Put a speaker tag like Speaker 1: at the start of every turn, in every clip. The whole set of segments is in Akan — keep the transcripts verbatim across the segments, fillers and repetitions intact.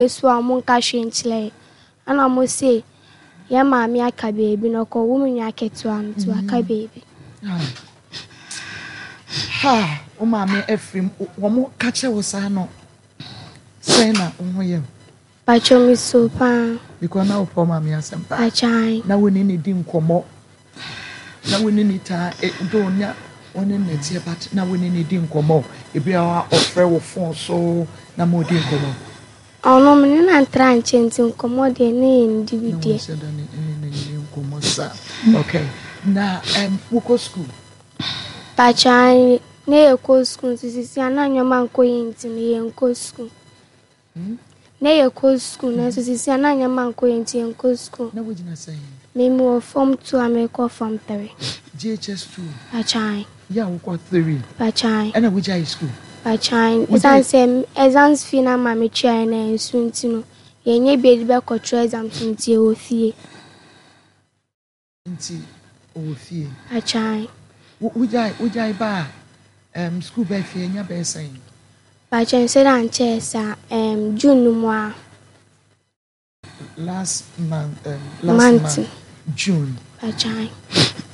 Speaker 1: So a ɔmo nka hwee nkyerɛ yɛn. Ɛna ɔmo se yɛn maame aka baabi na ɔkɔwo me nua ketewa no nti waka baabi.
Speaker 2: Ha, wo maame afiri mu. Wɔn ka kyerɛ wo saa no, sɛn na wo ho yɛ wo?
Speaker 1: Pakyɛ mesu paa.
Speaker 2: Because na wopɛ wo maame asɛm paa.
Speaker 1: Pakyɛ.
Speaker 2: Na wo ne ne di nkɔmmɔ. Na wo ne ne taa do nya wo ne ne teɛ, but na wo ne ne di nkɔmmɔ. Ebi a ɔfrɛ wo phone so na mo di nkɔmmɔ.
Speaker 1: Ɔno me ne no antra nkyɛn nti nkɔmmɔ deɛ ne yɛ ndi bi
Speaker 2: Na
Speaker 1: deɛ.
Speaker 2: wɔn hyɛ da ne ne ne ne nkɔmmɔ saa. Okay. Na um, wokɔ school?
Speaker 1: Pakyɛ, ne yɛkɔ school nso sisi a na nneɛma nkɔ yie nti no yɛnkɔ school.
Speaker 2: Hmm?
Speaker 1: Ne yɛkɔ school nanso sisi a na nneɛma nkɔ yie nti yɛnkɔ school.
Speaker 2: Na wogyina sɛn?
Speaker 1: Me wɔ form two a mekɔ form three.
Speaker 2: J H S two?
Speaker 1: Pakyɛ.
Speaker 2: Yɛ a wokɔ three.
Speaker 1: Pakyɛ.
Speaker 2: Ɛna wogyae school?
Speaker 1: Pakyɛ.
Speaker 2: Wogyae-
Speaker 1: Ɛsiane sɛ exams fee na ma metuaeɛ na ɛnso nti no yɛnyɛ bi de bɛkɔtwerɛ exams nti yɛwɔ fie.
Speaker 2: Nti ɔwɔ fie.
Speaker 1: Pakyɛ.
Speaker 2: Wo- Wogyae wogyae ba a um, school bɛɛ fie nya bɛyɛ sɛn?
Speaker 1: Pakyɛ, nhyɛ da nkyɛɛ saa, um, June no mu a.
Speaker 2: Last month, um, last
Speaker 1: Month.
Speaker 2: month, June.
Speaker 1: Pakyɛ.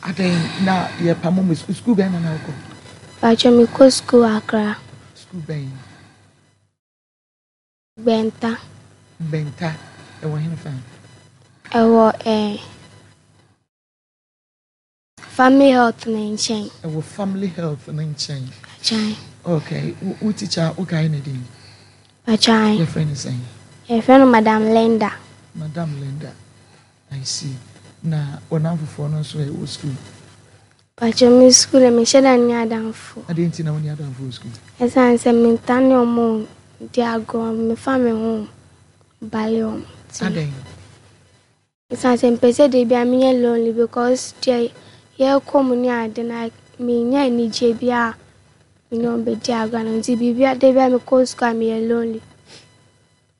Speaker 2: Adɛn na yɛpamo mo school? School bɛn na na wokɔ?
Speaker 1: Pakyɛ, mekɔ school Accra.
Speaker 2: School bɛn?
Speaker 1: Gbɛnta.
Speaker 2: Bɛnta ɛwɔ hene fa?
Speaker 1: Ɛwɔ eh, Family Health ne nkyɛn.
Speaker 2: Ɛwɔ Family Health ne nkyɛn.
Speaker 1: Pakyɛ.
Speaker 2: Okay, wo wo teacher, wokae ne din?
Speaker 1: Pakyɛ.
Speaker 2: Yɛfrɛ ne sɛn?
Speaker 1: Yɛfrɛ no Madam Linda.
Speaker 2: Madam Linda, I see. Na wɔn foforɔ no nso ɛwɔ school?
Speaker 1: Pakyɛ, me school no mehyɛ da nni adamfo.
Speaker 2: Adeɛ nti na wɔne adamfo wɔ school?
Speaker 1: Ɛsiane sɛ menta ne ɔmo di agorɔ, mefa me ho bale ɔmo nti.
Speaker 2: Adɛn?
Speaker 1: Ɛsiane sɛ mpɛ sɛ de bia menyɛ lonely because deɛ yɛrekɔ mu ne ade na menya anigye bi a me ne ɔmo bɛdi agorɔ no nti biribia de bia mekɔ school a meyɛ lonely.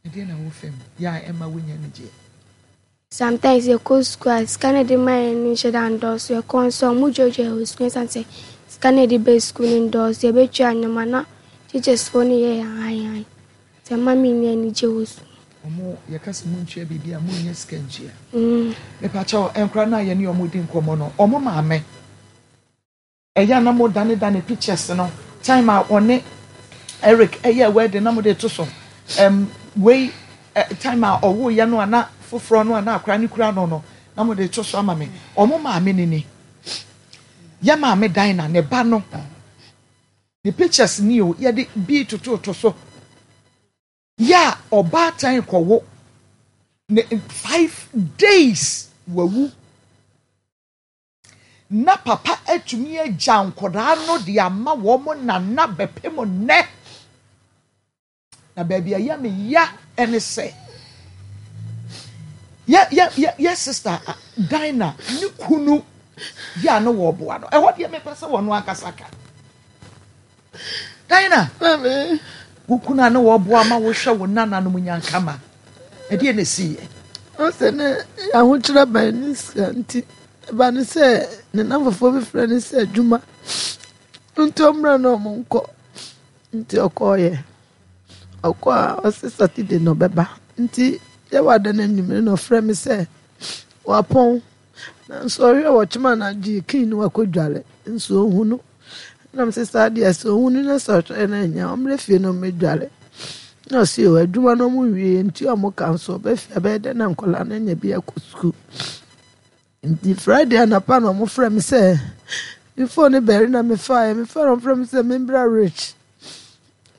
Speaker 2: Ɛdeɛ na wofam yɛ a ɛma wonya anigyeɛ?
Speaker 1: Sometimes yɛkɔ school a sika no de ma yɛn no nhyɛ da ndɔɔso. Yɛkɔ nso a ɔmo dwoodwoo wɔ school ɛsiane sɛ sika no yɛde ba school no ndɔɔso. Yɛbɛtua nneɛma na teachers foɔ no yɛ yɛn ahan nti ɛma menya anigye wɔ school.
Speaker 2: Ɔmo yɛka sɛ montua biribi a monnya sika ntua.
Speaker 1: Mm.
Speaker 2: Mepakyɛw, nkora no a yɛne ɔmo di nkɔmmɔ no, ɔmo maame ɛyɛ a na mo dane dane pictures no, time a ɔne Eric ɛyɛ wedding na mo de to so, ɛm wei ɛ time a ɔwo yɛ no a na foforɔ no a na akora ne kura no no na mo de to so ama me. Ɔmo maame ne ni, yɛ maame Dinah ne ba no ne pictures ni o. Yɛde bi tototo so yɛ a ɔbaatan kɔwo ne five days wawu na papa atumi agya nkwadaa no de ama wɔn nana bɛpem nnɛ. Na baabi a yɛ me ya ɛne sɛ yɛ yɛ yɛ yɛ sister ah, Dinah ne kunu yɛ a no wɔ ɔboa no ɛhɔ deɛ mepɛ sɛ wɔn ankasa ka. Dinah,
Speaker 3: Mami,
Speaker 2: wo kunu a ne wɔboa ma wohwɛ wo nananom nyankama, ɛdeɛ na esi yɛ?
Speaker 3: Ɔsɛ ne ahokyerɛ ban ne sika nti ɛba ne sɛ ne nam foforɔ bi frɛ ne sɛ adwuma nti ɔmmra na ɔmo nkɔ nti ɔkɔɔyɛ. Ɔkɔ a ɔsɛ Saturday na ɔbɛba nti yɛwɔ ada no anwummere na ɔfrɛ me sɛ wapɔn nanso ɔhwɛ wɔkyema no agye kin no wakɔdware nso ohu no. Nam sɛ saa deɛ, sɛ ohu no na sɛ ɔhwɛ no anya ɔmmerɛ fie na ɔmmɛdware. Na ɔse o adwuma no ɔmo nwie nti ɔmo ka nso ɔbɛfie abɛyɛ dɛ na nkɔlaa no anya bi akɔ sukuu. Nti Friday anapa na ɔmo frɛ me sɛ me phone no bɛri na mefaeɛ mefa na ɔmo frɛ me sɛ membra Rich.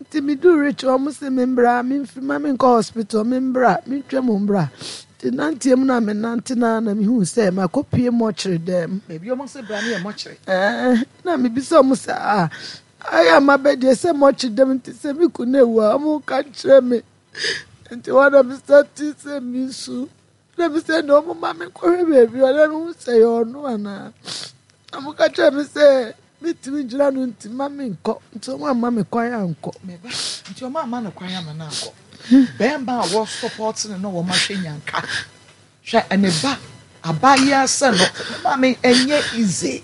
Speaker 3: Nti meduu Rich, ɔmo sɛ membra, memfiri ma menkɔ hospital, membra mentwa mu mbra. Nti nanteɛ mu na menante na na mehu sɛ makɔpie mɔkyere dɛm.
Speaker 2: Baabi ɔmo sɛ bra ne yɛ mɔkyere?
Speaker 3: Ɛɛ, na mebisa ɔmo sɛ a ayɛ a mabɛdeɛ sɛ mɔkyere dɛm nti sɛ me kunu ewu a ɔmo ka kyerɛ me. Nti wɔn na mesa ti sɛ mesu na mesɛ na ɔmo ma me nkɔhwɛ baabi ɔna mehu sɛ yɛ ɔno anaa. Na mo ka kyerɛ me sɛ metumi gyina no nti ma menkɔ nti ɔmo amma me kwan ankɔ.
Speaker 2: Meba nti ɔmo ama no kwan ama no ankɔ. Bɛrima a wɔ support no na wɔn ahwɛ nyanka hwɛ ɛne ba abaayewa sɛ no ne maame ɛnyɛ easy.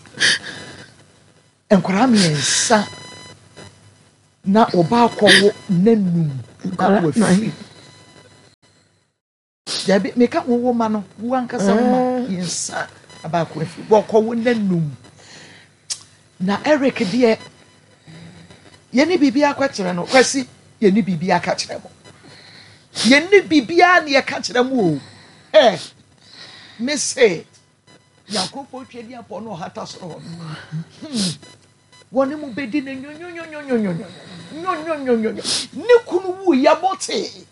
Speaker 2: Nkwadaa mmiɛnsa na ɔbaa kɔwo nanum na
Speaker 3: Nkwadaa
Speaker 2: wafiri. Dabi, meka wo wo ma no, wo ankasa wo ma mmiɛnsa na baako afi. Wɔkɔ wo nanum. Na Eric deɛ, yɛne biribi akɔkyerɛ no. Kwasi, yɛne biribi aka kyerɛ mo. Yɛne biribiara ne yɛka kyerɛ mo o. Ɛ, me se, Nyankopɔn twa di apɔ no ɔhata soro hɔ no. Hmm. Wɔne mo bɛdi no nyonyonyonyonyonyo. Nyonyonyonyonyo. Ne kunu wu yɛ mo tee.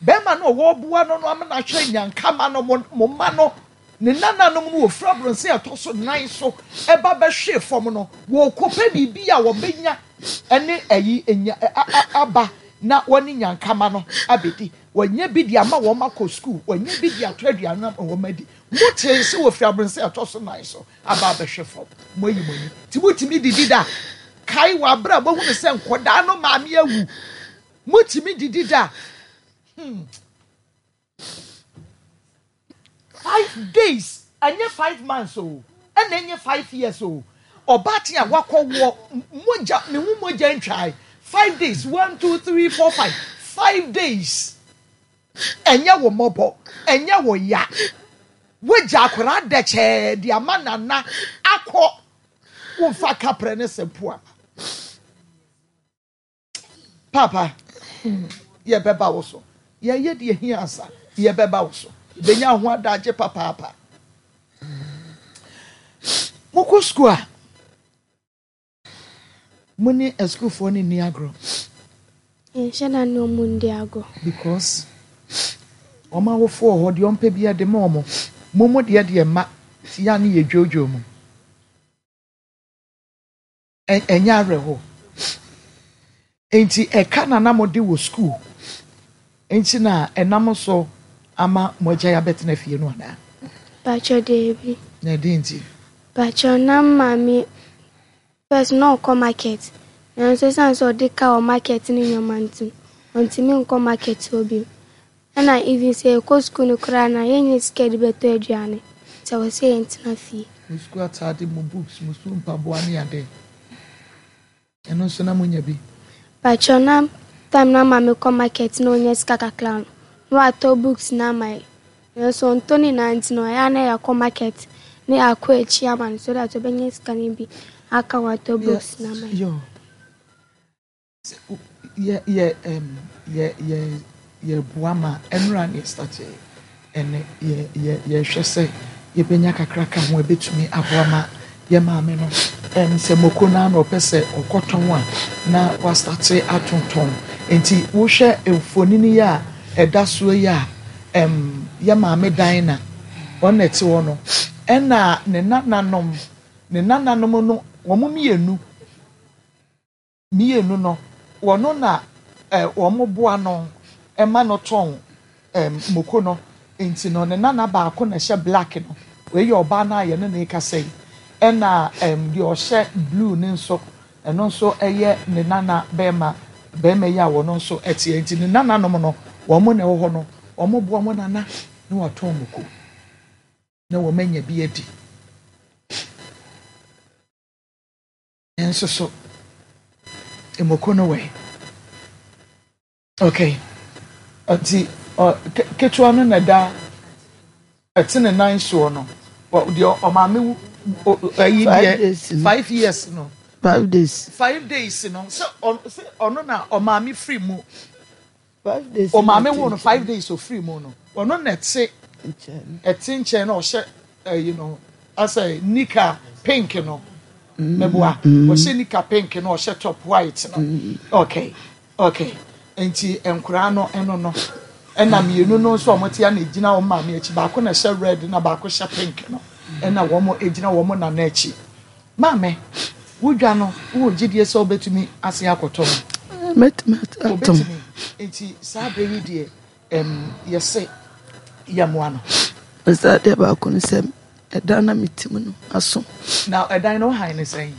Speaker 2: Bɛrima no ɔwɔ boa no no amena hwɛ nyankama no mo mma no ne nananom no wɔfiri aborɔnse a ɛtɔ so nan so ɛba bɛhwee fam no wɔrekɔpɛ biribi a wɔbɛnya ɛne ɛyi nya aba na wɔne nyankama no abɛdi. Wɔnyɛ bi de ama wɔn akɔ sukuu, wɔnyɛ bi de atɔ aduane ama wɔn adi. Mo tee sɛ wɔfiri aborɔnse a ɛtɔ so nan so aba abɛhwe fam. Mo ayi mo ani. Nti motumi didi da. Kae wɔ abere a moahunu sɛ nkɔdaa no maame awu. Motumi didi da. Hmm. Five days, ɛnyɛ five months o, ɛna ɛnyɛ five years o. Ɔbaatan a wakɔ wɔ mogya, ne ho mogya ntwae. Five days, one, two, three, four, five. Five days. Ɛnyɛ wo mmɔbɔ, ɛnyɛ wo ya. Wagya akwaraa dɛkyɛɛ de ama nana akɔ. Womfa kaprɛ ne sɛ mpo ama. Papa, yɛbɛba wo so. Yɛyɛ deɛ hia ansa, yɛbɛba wo so. Yɛbɛnya ho adagye papaapa. Mokɔ sukuu a, mo ne asukuufoɔ no nni agorɔ.
Speaker 1: Yɛnhyɛ da ne ɔmo ndi agorɔ.
Speaker 2: Because wɔn awofoɔ wɔ hɔ deɛ ɔmpɛ biara de ma wɔn. Mo mo deɛ deɛ mma ti ya ne yɛ dwoodwoo mu. Ɛnyɛ awerɛho. Nti ɛka na na mode wɔ sukuu. Nti na ɛnam so ama mo agya abɛtena fie no anaa?
Speaker 1: Pakyɛ deebi.
Speaker 2: Na ɛde nti?
Speaker 1: Pakyɛ na maame first na ɔkɔ market. Nanso ɛsiane sɛ ɔde ka wɔ market ne nneɛma nti, ɔntumi nkɔ market hɔ bio. Ɛna even sɛ yɛkɔ sukuu no koraa na yɛnyɛ sika de bɛtɔ aduane. Nti ɛwɔ sɛ yɛntena fie.
Speaker 2: Mo sukuu ataade, mo books, mo sukuu mpaboa ne ade. Ɛno nso na monya bi?
Speaker 1: Pakyɛ na time na maame kɔ market na ɔnya sika kakra no, na watɔ books na ama yɛ. Nanso ɔntɔ ne nyinaa nti no, ɛyɛ a na yɛakɔ market na yɛakɔ akyi ama no so that ɔbɛnya sika no bi aka watɔ books na ama yɛ.
Speaker 2: Yo. Yɛ yɛ ɛm yɛ yɛ yɛboa ma ɛnura ne start ɛnɛ yɛ yɛ yɛhwɛ sɛ yɛbɛnya kakra ka ho ebɛtumi aboa ma yɛ maame no ɛm sɛ moko naa na ɔpɛ sɛ ɔkɔtɔn a na wastart atontɔn. Nti wohwɛ mfonini yi a ɛda soɔ yi a ɛm yɛ maame dan na ɔna ɛte hɔ no ɛna ne nananom ne nananom no wɔn mmienu mmienu no wɔn na ɛ wɔn boa no ɛma no tɔn ɛm moko no. Nti no ne nana baako na ɛhyɛ black no, wei yɛ ɔbaa no a yɛne ne kasa yi, ɛna ɛm deɛ ɔhyɛ blue ne nso ɛno nso ɛyɛ ne nana bɛrima bɛrima yi a wɔn nso ɛteɛ. Nti ne nananom no wɔn na ɛwɔ hɔ no, wɔn boa wɔn nana na wɔatɔn moko na wɔn anya bi adi. Nso so moko no wɛ okay. Nti ɔ ketewa no na da ɛte ne nan soɔ no, deɛ ɔmaame wu ɛyi deɛ five years no.
Speaker 3: Five days.
Speaker 2: Five days no sɛ ɔno ɔno na ɔmaame firi mu.
Speaker 3: Five days.
Speaker 2: Ɔmaame wo no five days ofiri mu no, ɔno na ɛte ɛte nkyɛn na ɔhyɛ ɛyi no asɛ nika pink no mɛboa ɔhyɛ nika pink no ɔhyɛ top white no. Okay okay nti nkoraa no ɛno no ɛna mmienu no nso a wɔte a na egyina wɔn maame akyi, baako na ɛhyɛ red na baako hyɛ pink no ɛna wɔn egyina wɔn nana akyi. Maame, wodwa no wowɔ gyidie sɛ wobɛtumi ase akɔtɔ no?
Speaker 3: Mɛtumi atɔm.
Speaker 2: Wobɛtumi. Nti saa abere yi deɛ ɛm yɛsɛ yɛmmoa no.
Speaker 3: Ɛsɛ adeɛ baako no sɛ ɛdan na meti mu no aso.
Speaker 2: Na ɛdan no han ne sɛn?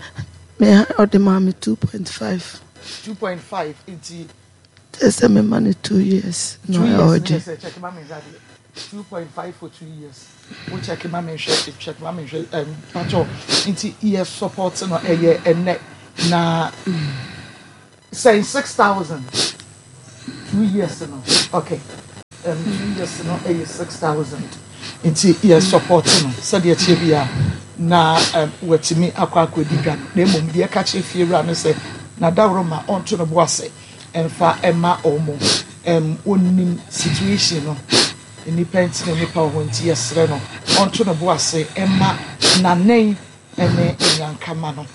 Speaker 3: Me ɔde maa me two point five.
Speaker 2: Two point five nti.
Speaker 3: Kyerɛ sɛ mema no two years na
Speaker 2: Two years
Speaker 3: ɔgye.
Speaker 2: ne sɛ check ma me nhwɛ adeɛ. Two point five for two years. Wo check ma me nhwɛ, check ma me nhwɛ ɛm patɔ. Nti yɛ support no ɛyɛ ɛnɛ na sɛn six thousand two years no. Okay. Um, two years no ɛyɛ six thousand. Nti yɛ support no sɛdeɛ ɛkyɛ bi a na um, watumi akɔ akɔdi dwa no. Na mmom deɛ ɛka kyerɛ fie wura no sɛ n'adaworo ma ɔnto no bo ase ɛmfa ɛma ɔmo. Um, onim situation no. Nnipa nti na nnipa wɔ hɔ nti yɛsrɛ no ɔnto no bo ase ɛma nanan ɛne nyankama no.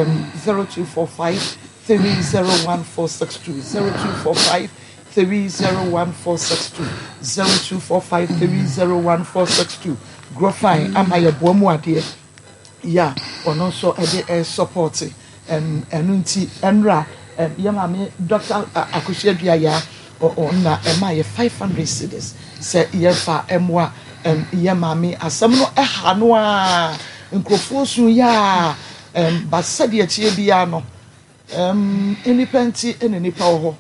Speaker 2: Um, zero two four five three zero one four six two zero two four five three zero one four six two zero two four five three zero one four six two. Grofine ama yɛboa mu adeɛ ya ɔno nso ɛde ɛsupporte ɛm ɛno nti ɛnra ɛm yɛ maame Doctor Akosua Duaya ɔna ɛma yɛ five hundred cedis sɛ yɛfa ɛmoa ɛm yɛ maame asɛm no ɛha no a nkurɔfoɔ su yɛ a ɛm ba sɛdeɛ kyie biara no ɛm nnipa nti ɛna nnipa wɔ hɔ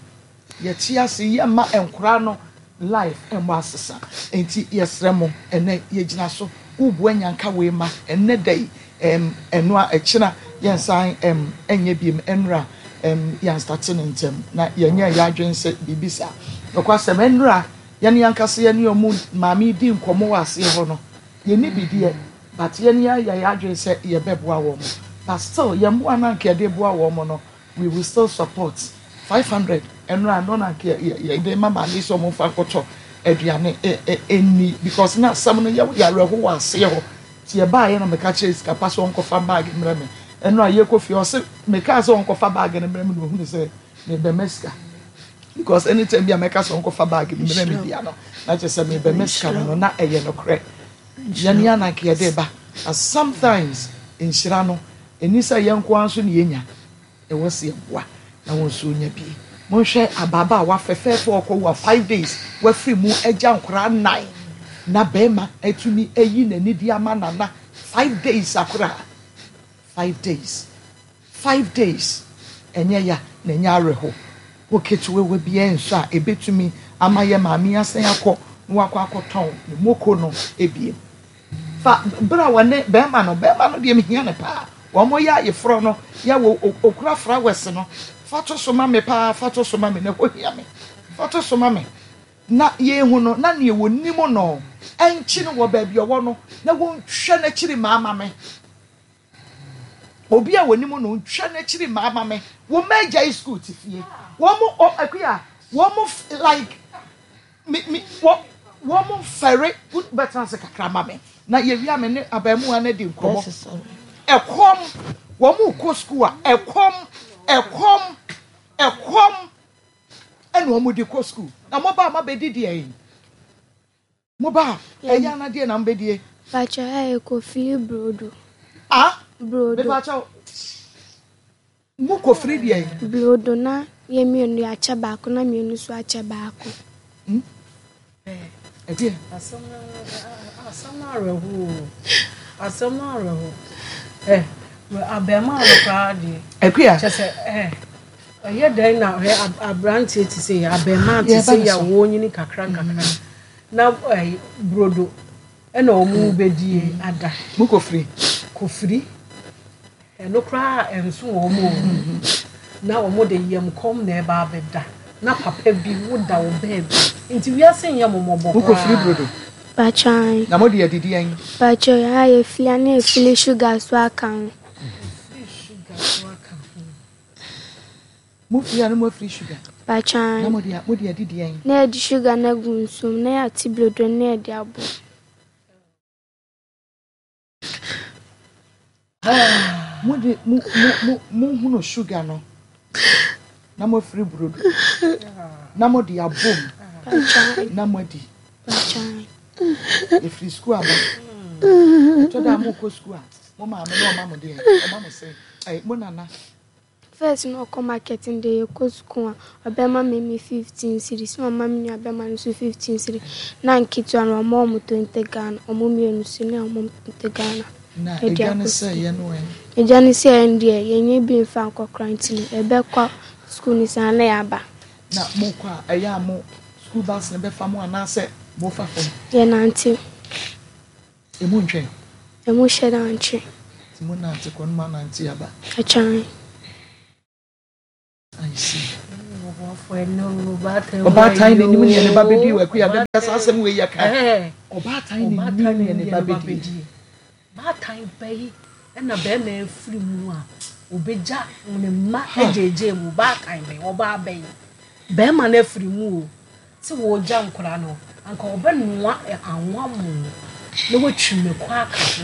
Speaker 2: yɛte ase yɛma nkora no life ɛmmɔ asesa nti yɛsrɛ mo ɛnɛ yɛgyina so wobua nyanka wei ma ɛnɛ da yi ɛm ɛno a ɛkyena yɛnsan ɛm ɛnyɛ biem ɛnra ɛm yɛnstate ne ntɛm na yɛnyɛ yɛ adwene sɛ biribi saa nokwasɛm ɛnra yɛne yankasa yɛne ɔmo maame di nkɔmmɔ wɔ aseɛ hɔ no yɛni bi deɛ but yɛne yɛ yɛ adwene sɛ yɛbɛboa wɔn but still yɛn mmoa no anka yɛde boa wɔn no we will still support five hundred ɛnra no na anka yɛ yɛde ma maame sɛ ɔmo nfa nkɔtɔ aduane ɛ ɛ ɛni because na asɛm no yɛ yɛ awerɛho wɔ aseɛ hɔ ti yɛ baa yɛ na meka kyerɛ sika pa sɛ ɔnkɔfa bag mmerɛ mi ɛnra yɛkɔ fie ɔsɛ meka sɛ ɔnkɔfa bag no mmerɛ mi na ohun sɛ mebɛmɛ sika because anytime bi a mɛka sɛ ɔnkɔfa bag mmerɛ mi bia no na kyerɛ sɛ mebɛmɛ sika no no na ɛyɛ nokorɛ yɛn yɛn ananka yɛde ba na sometimes nhyira no ɛni sɛ yɛn nko ara nso na yɛnya ɛwɔ si ɛboa na wɔn nso nya bi monhwɛ ababaawa fɛfɛɛfɛ ɔkɔ wa five days wafiri mu agya nkwaraa nnan na bɛrima atumi ayi n'ani de ama nana five days akora five days five days ɛnyɛ ya na ɛnyɛ awerɛho wo ketewa bi nso a ebetumi ama yɛ maame asan akɔ na wakɔ akɔtɔn ne moko no ebiem fa bere a wɔne bɛrima no bɛrima no deɛ mehia ne paa wɔn yɛ ayeforɔ no yɛ wɔ okura flowers no fa to so ma me paa fa to so ma me na ɛhɔ hia me fa to so ma me na yɛn no na nea wɔnim no ɛnkyi no wɔ baabi ɔwɔ no na wɔntwa n'akyiri maa ma me obi a wɔnim no ntwa n'akyiri maa ma me wɔn mma agya yi school ti fie wɔn mo ɔ akuya wɔn mo like mi mi wɔ wɔn mo fɛre bɛtena ase kakra ma me na yɛwia me ne abaamuwa no di nkɔmɔ ɛkɔm wɔn mo kɔ school a ɛkɔm ɛkɔm ɛkɔm ɛna wɔn de kɔ school na mo ba a mo abɛdi deɛ yi mo ba ɛyɛ anadeɛ na mo bɛdie.
Speaker 1: Pakyɛ ɛyɛ kofiri brodo.
Speaker 2: Ah
Speaker 1: brodo.
Speaker 2: Mepakyɛw mo kofiri deɛ yi.
Speaker 1: Brodo na yɛ mmienu akyɛ baako na mmienu nso akyɛ baako.
Speaker 2: Hmm? Ɛdeɛ.
Speaker 4: Asɛm no asɛm no awerɛho asɛm no awerɛho ɛ abɛɛmaa no koraa deɛ.
Speaker 2: Akuya.
Speaker 4: Kyɛ sɛ ɛ ɛyɛ dɛn na ɛ aberanteɛ te sɛ yɛ abɛɛmaa te sɛ yɛ a wɔnyini kakra kakra na ɛ brodo ɛna wɔn bɛdie ada.
Speaker 2: Mo kofiri.
Speaker 4: Kofiri ɛno koraa ɛnso wɔn o na wɔn de yam kɔm na ɛba abɛda na papa bi woda wo baabi nti wiase nyɛ mɔmɔbɔ koraa.
Speaker 2: Mo kofiri brodo.
Speaker 1: Pakyɛ.
Speaker 2: Na mo de adidi yɛn.
Speaker 1: Pakyɛ ayɛ fili ne efili sugar so aka ho.
Speaker 4: Efili sugar so aka ho.
Speaker 2: Mo firi a na mo afiri sugar.
Speaker 1: Pakyɛ.
Speaker 2: Na mo de mo de adidi yɛn.
Speaker 1: Na yɛde sugar na gu nsuom na yɛate brodo na yɛde abɔ.
Speaker 2: Mo de mo mo mo mo hunu sugar no na mo afiri brodo na mo de abom na mo adi.
Speaker 1: Pakyɛ.
Speaker 2: Efiri sukuu aba. Ɛtɔ da mo kɔ sukuu a mo maame na ɔma mo deɛ ɔma mo sɛ ɛɛ mo nana.
Speaker 1: First no ɔkɔ market de yɛkɔ sukuu a ɔbɛma me me fifteen cedis na ɔma me nua bɛma no nso fifteen cedis na nketewa no ɔma ɔmo twenty Ghana ɔmo mmienu so na ɔmo twenty Ghana.
Speaker 2: Na edwa ne sɛ yɛ no ɛ.
Speaker 1: Edwa ne sɛ yɛn deɛ yɛnyɛ bi nfa nkɔkora nti no yɛbɛkɔ sukuu ne saa na yɛaba.
Speaker 2: Na mo kɔ a ɛyɛ a mo school bus ne bɛfa mo anaasɛ mo fa fam.
Speaker 1: Yɛnante.
Speaker 2: Emu ntwɛn.
Speaker 1: Emu hyɛ da ntwe.
Speaker 2: Ti mo nante kɔ no mo anante aba.
Speaker 1: Atwan.
Speaker 2: I see. Ɔbaatan n'anim ne ne ba bɛdi wɔ Akua da saa asɛm wei yɛ ka. Ɔbaatan n'anim ne ne ba bɛdi.
Speaker 4: Baatan bɛyi ɛna bɛrima afiri mu a obɛgya ne mma agyegye mu. Baatan bɛyi, ɔbaa bɛyi bɛrima no afiri mu o, sɛ wɔgya nkora no anka ɔbɛnoa anwa mu na watwi mako aka ho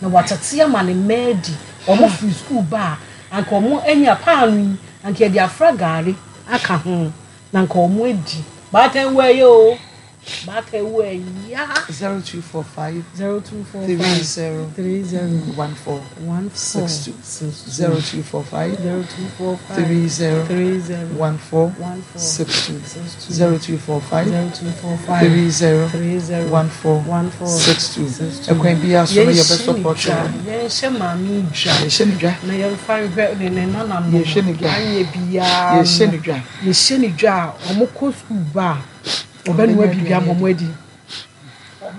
Speaker 4: na watete ama ne mma adi. Wɔn firi sukuu ba a, anka wɔn anya paano yi, anka yɛde afra gari aka ho na anka wɔn adi. Baatan wu ɛyɛ o, baatan wu ɛya.
Speaker 2: zero two four five
Speaker 4: zero two four
Speaker 2: three
Speaker 4: five
Speaker 2: zero
Speaker 4: three zero
Speaker 2: one four
Speaker 4: one four
Speaker 2: six two
Speaker 4: six two
Speaker 2: zero two four five
Speaker 4: zero two four five
Speaker 2: three zero
Speaker 4: three zero
Speaker 2: one four
Speaker 4: one four
Speaker 2: six two
Speaker 4: six two
Speaker 2: zero two four five
Speaker 4: zero two four five
Speaker 2: three zero
Speaker 4: three zero
Speaker 2: one four
Speaker 4: one four
Speaker 2: six two.
Speaker 4: six two.
Speaker 2: Ɛkwan bi aso no yɛbɛ
Speaker 4: Yɛnhyɛ ne
Speaker 2: support
Speaker 4: dwa,
Speaker 2: wɔn.
Speaker 4: yɛnhyɛ maame dwa
Speaker 2: Yɛhyɛ ne dwa.
Speaker 4: na yɛmfa nhwɛ ne ne nananom.
Speaker 2: Yɛhyɛ ne dwa.
Speaker 4: Anyɛ biara
Speaker 2: Yɛhyɛ
Speaker 4: no,
Speaker 2: ne dwa.
Speaker 4: yɛhyɛ ne dwa a, ɔmo kɔ sukuu ba a, ɔbɛnoa
Speaker 2: Ɔbɛnya
Speaker 4: biribi ama
Speaker 2: aduane
Speaker 4: ɔmo adi.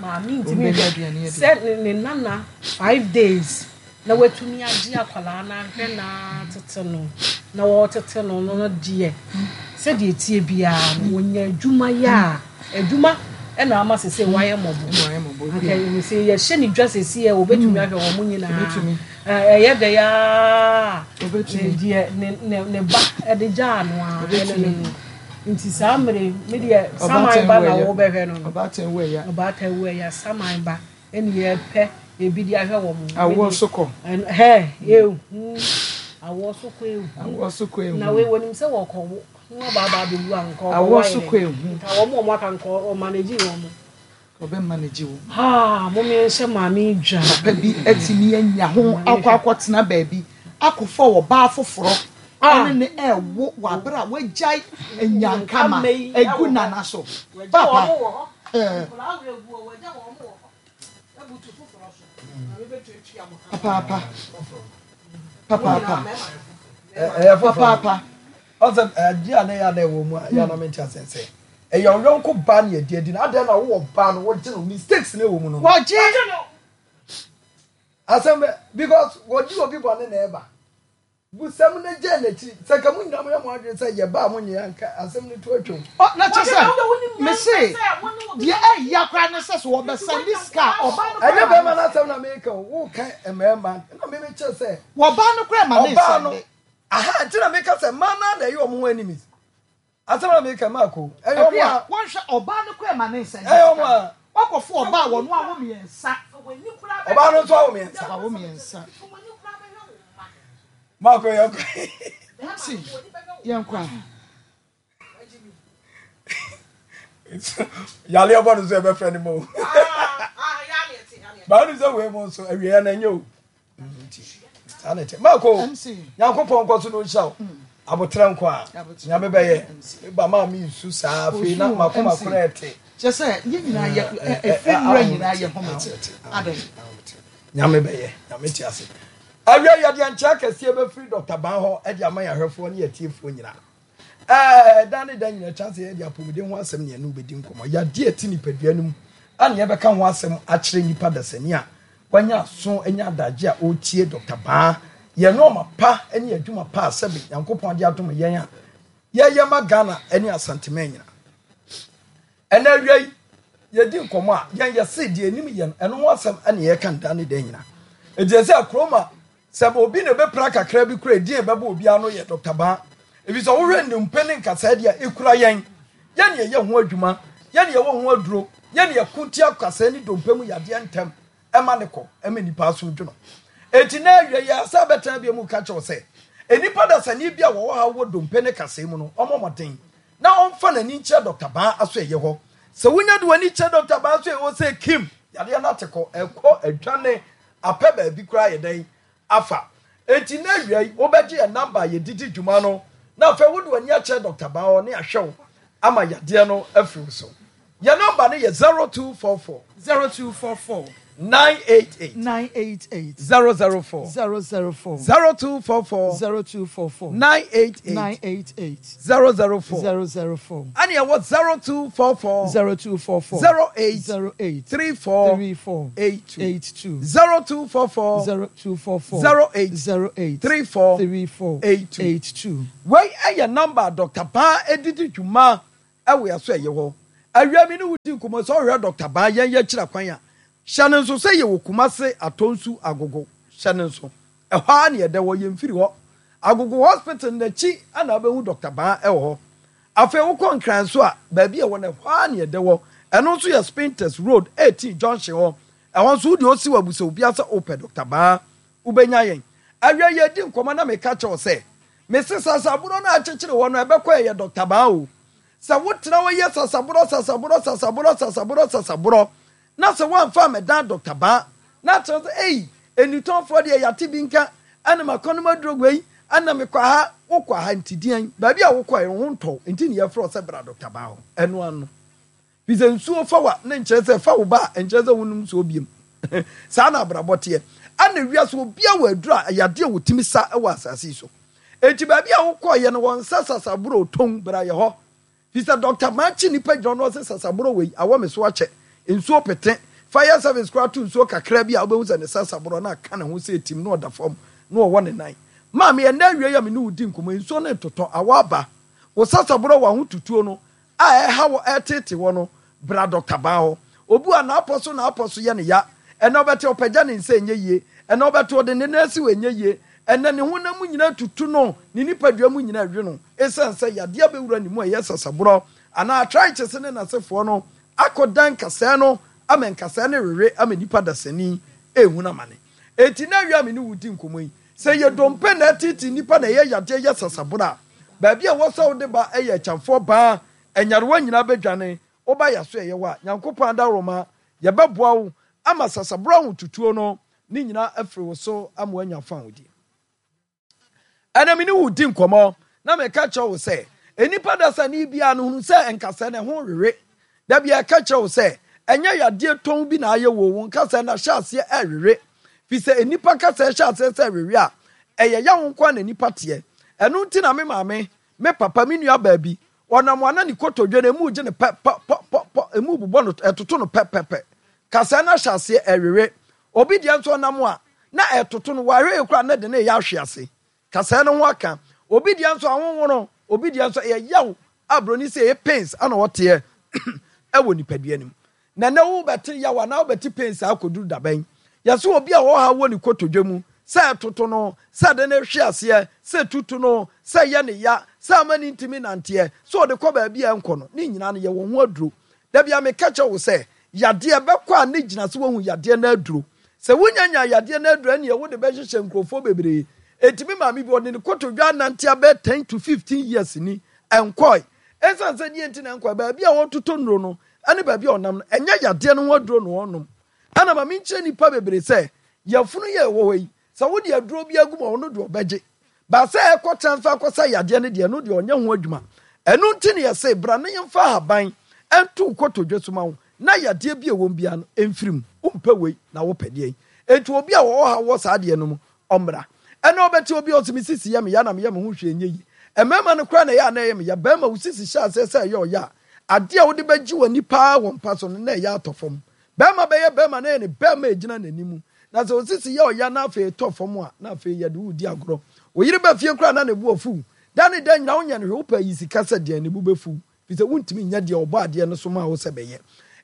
Speaker 4: Maame ntumi
Speaker 2: Ɔbɛnya
Speaker 4: nhwɛ
Speaker 2: aduane adi.
Speaker 4: sɛ ne ne nana five days na watumi agye akwadaa no ahwɛ na tete no na wɔtete no no no deɛ, sɛdeɛ tie biara no, wɔnya adwuma yɛ a, adwuma ɛna ama sese wayɛ mmɔbɔ.
Speaker 2: Ɛna wayɛ mmɔbɔ.
Speaker 4: Anka sɛ yɛhyɛ ne dwa sese a, wɔbɛtumi ahwɛ wɔn nyinaa.
Speaker 2: Wɔbɛtumi.
Speaker 4: Ɛ- ɛyɛ dɛ yaa
Speaker 2: Wɔbɛtumi.
Speaker 4: ne deɛ ne ne ne ba ɛde gyaa no a, ɛne
Speaker 2: Wɔbɛtumi.
Speaker 4: ne no nti saa mmere me deɛ saman
Speaker 2: Ɔbaatan
Speaker 4: ba
Speaker 2: wu
Speaker 4: na
Speaker 2: ɛyɛ.
Speaker 4: wɔbɛhwɛ no no
Speaker 2: Ɔbaatan wu ɛyɛ.
Speaker 4: Ɔbaatan wu ɛyɛ, saman ba ɛne yɛpɛ ebi de ahwɛ wɔn.
Speaker 2: Awoɔ so kɔ.
Speaker 4: Ɛn- hɛ ehu, awoɔ so kɔ ehu.
Speaker 2: Awoɔ so kɔ ehu.
Speaker 4: Na wei wɔnim sɛ wɔkɔwo na ɔba aba abɛwu a, nka ɔkɔwo
Speaker 2: Awoɔ
Speaker 4: ayɛ
Speaker 2: so
Speaker 4: dɛ.
Speaker 2: kɔ ehu.
Speaker 4: Nka wɔn a wɔn aka nka ɔmanagye wɔn.
Speaker 2: Ɔbɛma ne gye wo.
Speaker 4: Ha mo yɛnhyɛ maame dwa.
Speaker 2: Papa bi atumi anya ho akɔ akɔtena baabi akɔfa ɔbaa foforɔ
Speaker 4: Ah.
Speaker 2: ɛne ne ɛɛwo wɔ abere a wagyae nyankama
Speaker 4: Nyankama yi
Speaker 2: egu
Speaker 4: ɛwɔ hɔ.
Speaker 2: nana so.
Speaker 4: Wɔagya
Speaker 2: Papa.
Speaker 4: wɔn wɔ hɔ.
Speaker 2: Ɛɛ.
Speaker 4: Nkwadaa wɔ egu hɔ, wɔagya wɔn wɔ hɔ. Abutu foforɔ so. Maame bɛtuatua mo ka.
Speaker 2: Papaapa. Papaapa.
Speaker 5: Ɛyɛ foforɔ.
Speaker 2: Papaapa.
Speaker 5: Ɔsɛ ɛgye a ne yɛ ana ɛwɔ mu a yɛ ana mente asɛn sɛ ɛyɛ ɔyɔnko ba ne yɛdi adi na adɛn na wowɔ ba no wogye no mistakes ne ɛwɔ mu no.
Speaker 2: Wɔgye.
Speaker 5: Asɛm bɛ because wɔdi obi bɔne na ɛba busɛm no gye n'akyiri sɛ ka mo nyinaa moyɛ mo adwene sɛ yɛba a monyɛ anka asɛm no to atwam.
Speaker 2: Ɔ na kyerɛ sɛ mese deɛ ɛyɛ koraa ne sɛ sɛ wɔbɛsa ne sika a, ɔbaa no
Speaker 5: ɛnyɛ
Speaker 2: koraa
Speaker 5: bɛrima no asɛm na meka o, woka mmarima na memekyerɛ sɛ
Speaker 2: wɔbaa no koraa ma ne
Speaker 5: ɔbaa no
Speaker 2: nsɛnde.
Speaker 5: Aha nti na meka sɛ mmaa no na ɛyɛ ɔmo ho enemies. Asɛm na meka maako ɛyɛ ɔmo
Speaker 2: Akua
Speaker 5: a
Speaker 2: wɔnhwɛ ɔbaa no koraa ma ne nsɛnde.
Speaker 5: Ɛyɛ ɔmo a
Speaker 2: wakɔfo ɔbaa wɔn awo mmiɛnsa.
Speaker 5: Ɔbaa no nso awo mmiɛnsa.
Speaker 2: Awo mmiɛnsa.
Speaker 5: Maako yɛ kɔ.
Speaker 2: Si yɛn kɔ a.
Speaker 5: Yale ɔbɔ no so ɛbɛfrɛ no ma o baa no sɛ wei mu nso awieɛ no ɛnyɛ o, nti saa na ɛkyɛ maako.
Speaker 2: M C.
Speaker 5: Nyankopɔn nkɔ so no nhyɛ wo abotrɛ nko a Nyame bɛyɛ meba maa me nsu saa afei na
Speaker 2: Osu,
Speaker 5: makoma
Speaker 2: M C.
Speaker 5: koro ɛte.
Speaker 2: Kyerɛ sɛ yɛn nyinaa yɛ ɛ- ɛfiri nnura nyinaa yɛ homete adan.
Speaker 5: Nyame bɛyɛ, Nyame te ase. Awia yɛde nkyɛn kɛseɛ bɛfiri Doctor Ban hɔ ɛde ama yɛn ahwɛfoɔ ne yɛtiefoɔ nyinaa. Ɛɛ da ne da nyinaa kyɛn sɛ yɛde apɔmuden ho asɛm ne yɛne wobɛdi nkɔmmɔ, yadeɛ ɛte nipadua no mu ane yɛbɛka ho asɛm akyerɛ nipa dasani a wanya aso anya adagye a ɔretie Doctor Ban. Yɛn nɔɔma pa ne adwuma pa a sɛbe Nyankopɔn de adom yɛn a yɛyɛ ma Ghana ne Asanteman nyinaa. Ɛnɛ awia yi yɛdi nkɔmmɔ a yɛn yɛse deɛ anim yɛ no, ɛno ho asɛm ɛne yɛka da ne da nyinaa. Ɛgyɛ sɛ kurom a sɛ obi na ɛbɛpira kakra bi kura edin a ɛbɛbɔ obiara no yɛ Doctor Ban, ebi sɛ wohwɛ nnompe ne nkasaa deɛ a ekura yɛn, yɛn yɛyɛ ho adwuma, yɛn yɛwɔ ho aduro, yɛn yɛko tia kasaa ne dompe mu yadeɛ ntɛm ɛma ne kɔ ɛma nipa aso dwono. Eti na awia yi asa bɛtena bi mu ka kyerɛw sɛ nipa dasani bi a wɔwɔ ha wɔ dompe ne kasaa mu no, ɔmɔ mmɔden na ɔmfa n'ani nkyerɛ Doctor Ban aso ɛyɛ hɔ. Sɛ wonya de w'ani kyerɛ Doctor Ban aso ɛyɛ hɔ sɛ kim yadeɛ no ate kɔ ɛkɔ adwane apɛ baabi koraa yɛ dɛn afa. Eti na awia yi wobɛgye yɛ number a yɛdidi dwuma no na afei wode w'ani akyerɛ Doctor Ban hɔ ne ahwɛ wo ama yadeɛ no afiri wo so. Yɛ nɔmba no yɛ zero two four four.
Speaker 2: Zero two four four.
Speaker 5: Nine eight eight.
Speaker 2: Nine eight eight.
Speaker 5: Zero zero four.
Speaker 2: Zero zero four.
Speaker 5: Zero two four four.
Speaker 2: Zero two four four.
Speaker 5: Nine eight eight.
Speaker 2: Nine eight eight.
Speaker 5: Zero zero four.
Speaker 2: Zero zero four.
Speaker 5: Ɛne ɛwɔ zero two four four.
Speaker 2: Zero two four four.
Speaker 5: Zero eight.
Speaker 2: Zero eight.
Speaker 5: Three four.
Speaker 2: Three four.
Speaker 5: Eight two.
Speaker 2: Eight two.
Speaker 5: Zero two four four.
Speaker 2: Zero two four four.
Speaker 5: Zero eight.
Speaker 2: Zero eight.
Speaker 5: Three four.
Speaker 2: Three four.
Speaker 5: Eight two.
Speaker 2: Eight two.
Speaker 5: Wei ɛyɛ nɔmba Doctor Baa edidi dwuma ɛwɔ yɛso ɛyɛ hɔ. Awia mi ne wo di nkɔmɔ sɛ ɔhwɛ Doctor Baa yɛn yɛ kyerɛ kwan a hyɛ no nso sɛ yɛwɔ Kumase Atonsu Agogo hyɛ no nso ɛhɔ ara ne yɛdɛ wɔ yɛmfiri hɔ Agogo Hospital n'akyi ana wobɛhu Doctor Baa ɛwɔ hɔ. Afei wokɔ Nkran so a baabi a ɛwɔ no ɛhɔ ara ne yɛdɛ wɔ ɛno nso yɛ Spintex Road eighteen junction hɔ ɛhɔ nso wode osi wɔ abusa obiara sɛ wopɛ Doctor Baa wobɛnya yɛn. Awia yɛdi nkɔmɔ na meka kyerɛ wo sɛ mese sasaborɔ no akyekyere hɔ no ɛbɛkɔ ɛyɛ Doctor Baa o. Sɛ wotena hɔ yɛ sasaborɔ sasaborɔ sasaborɔ sasaborɔ sasaborɔ na sɛ woamfa amɛdan Doctor Baa na akyerɛ sɛ ei enitɔnfoɔ deɛ yɛate bi nka ɛna makɔnom aduro wei ɛna mekɔ ha wokɔ ha nti deɛn baabi a wokɔ ɛho ho ntɔw nti ne yɛfrɛ sɛ bra Doctor Baa hɔ ɛno ano fi sɛ nsuo fa wa ne nkyerɛ sɛ fa wo ba a nkyerɛ sɛ wonom nsuo biem saa na abrabɔ teɛ ɛna wiase obia wɔ aduro a yadeɛ wɔ sa ɛwɔ asase yi so enti baabi a wokɔ yɛ no wɔn nsa sasaborɔ tɔn bra yɛ hɔ fi sɛ Doctor Makye nipa gyina no ɔsɛ sasaborɔ wei awɔ me so akyɛ nsuo pete fire service koraa to nsuo kakra bi a wobɛhu sɛ ne sasaborɔ na aka ne ho sɛ etim na ɔda fam na ɔwɔ ne nan maame ɛnɛ awie yɛ me ne wo di nkɔmmɔ nsuo no totɔ awɔ aba wo sasaborɔ wɔ ahotutuo no a ɛha wɔ ɛtete wɔ no bra Doctor Baa hɔ obu a n'apɔ so n'apɔ so yɛ ne ya ɛnɛ ɔbɛte ɔpɛgya ne nsa ɛnyɛ yie ɛnɛ ɔbɛte ɔde ne nan asi wɔ ɛnyɛ yie ɛnɛ ne honam mu nyinaa tutu no ne nipadua mu nyinaa ɛwe no ɛsiane sɛ yadeɛ bɛwura ne mu a ɛyɛ sasaborɔ anaa arthritis ne n'asefoɔ no akɔdan nkasɛɛ no ama nkasɛɛ no wewe ama nipa dasani ɛhunu amane enti na awia me ne wo di nkɔmmɔ yi sɛ yɛ dompe na ɛtete nipa na ɛyɛ yadeɛ yɛ sasaborɔ a baabi a wɔsɛ wode ba ɛyɛ akyamfoɔ baa ɛnyarewa nyinaa bɛdwane woba yɛ so ɛyɛ hɔ a Nyankopɔn adaworoma yɛbɛboa wo ama sasaborɔ ahotutuo no ne nyinaa afiri wo so ama woanya fa wo di. Ɛna me ne wo di nkɔmmɔ na meka kyerɛ wo sɛ enipa dasani biara no hunu sɛ nkasɛɛ ne ho wewe da bia ɛka kyerɛ wo sɛ ɛnyɛ yadeɛ tɔn bi na ayɛ wo wo nkasɛɛ na hyɛ aseɛ ɛwewe fi sɛ enipa kasɛɛ hyɛ aseɛ sɛ ɛwewe a ɛyɛ yawo nko na nipa teɛ ɛno nti na me maame me papa me nua baabi ɔnam ana ne kotodwe no emu gye ne pɛ pɛ pɛ pɛ pɛ emu bobɔ no ɛtoto no pɛ pɛ pɛ kasɛɛ na hyɛ aseɛ ɛwewe obi deɛ nso ɔnam a na ɛtoto no wahwɛ ekura na de ne yɛ ahwe ase kasɛɛ no ho aka obi deɛ nso ahonhono obi deɛ nso ɛyɛ yaw abroni sɛ ɛyɛ pains ana ɔteɛ ɛwɔ nipadua no mu na na wo bɛte yaw ana wobɛte pains akɔduru dabɛn yɛsɛ obi a wɔha wɔ ne kotodwe mu sɛ ɛtoto no sɛ de ne hwe aseɛ sɛ tutu no sɛ yɛ ne ya sɛ ama ne ntumi nanteɛ sɛ ɔde kɔ baabi a ɛnkɔ no ne nyinaa no yɛwɔ ho aduro da bia meka kyerɛ wo sɛ yadeɛ bɛkɔ a ne gyina sɛ woahu yadeɛ no aduro sɛ wonyanya yadeɛ no aduro ɛneɛ wode bɛhyehyɛ nkurɔfoɔ bebree ɛtumi maame bi ɔde ne kotodwe anante abɛɛ ten to fifteen years ni ɛnkɔe ɛnsiane sɛ deɛ nti na ɛnkɔe baabi a wɔtotɔ nnuro no ɛne baabi a ɔnam no ɛnyɛ yadeɛ no ho aduro no ɔnom ɛna ma menkyerɛ nnipa bebree sɛ yɛfunu yɛ ɛwɔ hɔ yi sɛ wode aduro bi agu ma ɔno deɛ ɔbɛgye baasa ɛkɔ transfer akɔsa yadeɛ no deɛ no deɛ ɔnyɛ ho adwuma ɛno nti ne yɛsɛ bra ne yɛmfa ahaban ɛnto kotodwe so ma wo na yadeɛ bi a ɛwɔ bia no ɛmfiri mu wompɛ wei na wopɛ deɛ enti obi a wɔwɔ ha wɔ saa adeɛ no mu ɔmmra ɛna ɔbɛte obi a ɔsɛ me sisi yɛ me ya na meyɛ me ho hwee nyɛ yi mmarima no koraa na ɛyɛ a na ɛyɛ me ya bɛrima wo sisi hyɛ aseɛ sɛ ɛyɛ ɔyɛ a adeɛ a wode bɛgye w'ani paa wɔ mpa so no na ɛyɛ atɔ fam bɛrima bɛyɛ bɛrima na ɛyɛ ne bɛrima egyina n'anim na sɛ osisi yɛ ɔya na afei tɔ fam a na afei yɛde wo di agorɔ wo yere bɛ fie koraa na ne bo afuw da ne da nyina wonyɛ no hwɛ wopɛ yi sika sɛ deɛ ne bo bɛfuw fi sɛ wontumi nyɛ deɛ ɔbɔ adeɛ no so ma wo sɛ bɛyɛ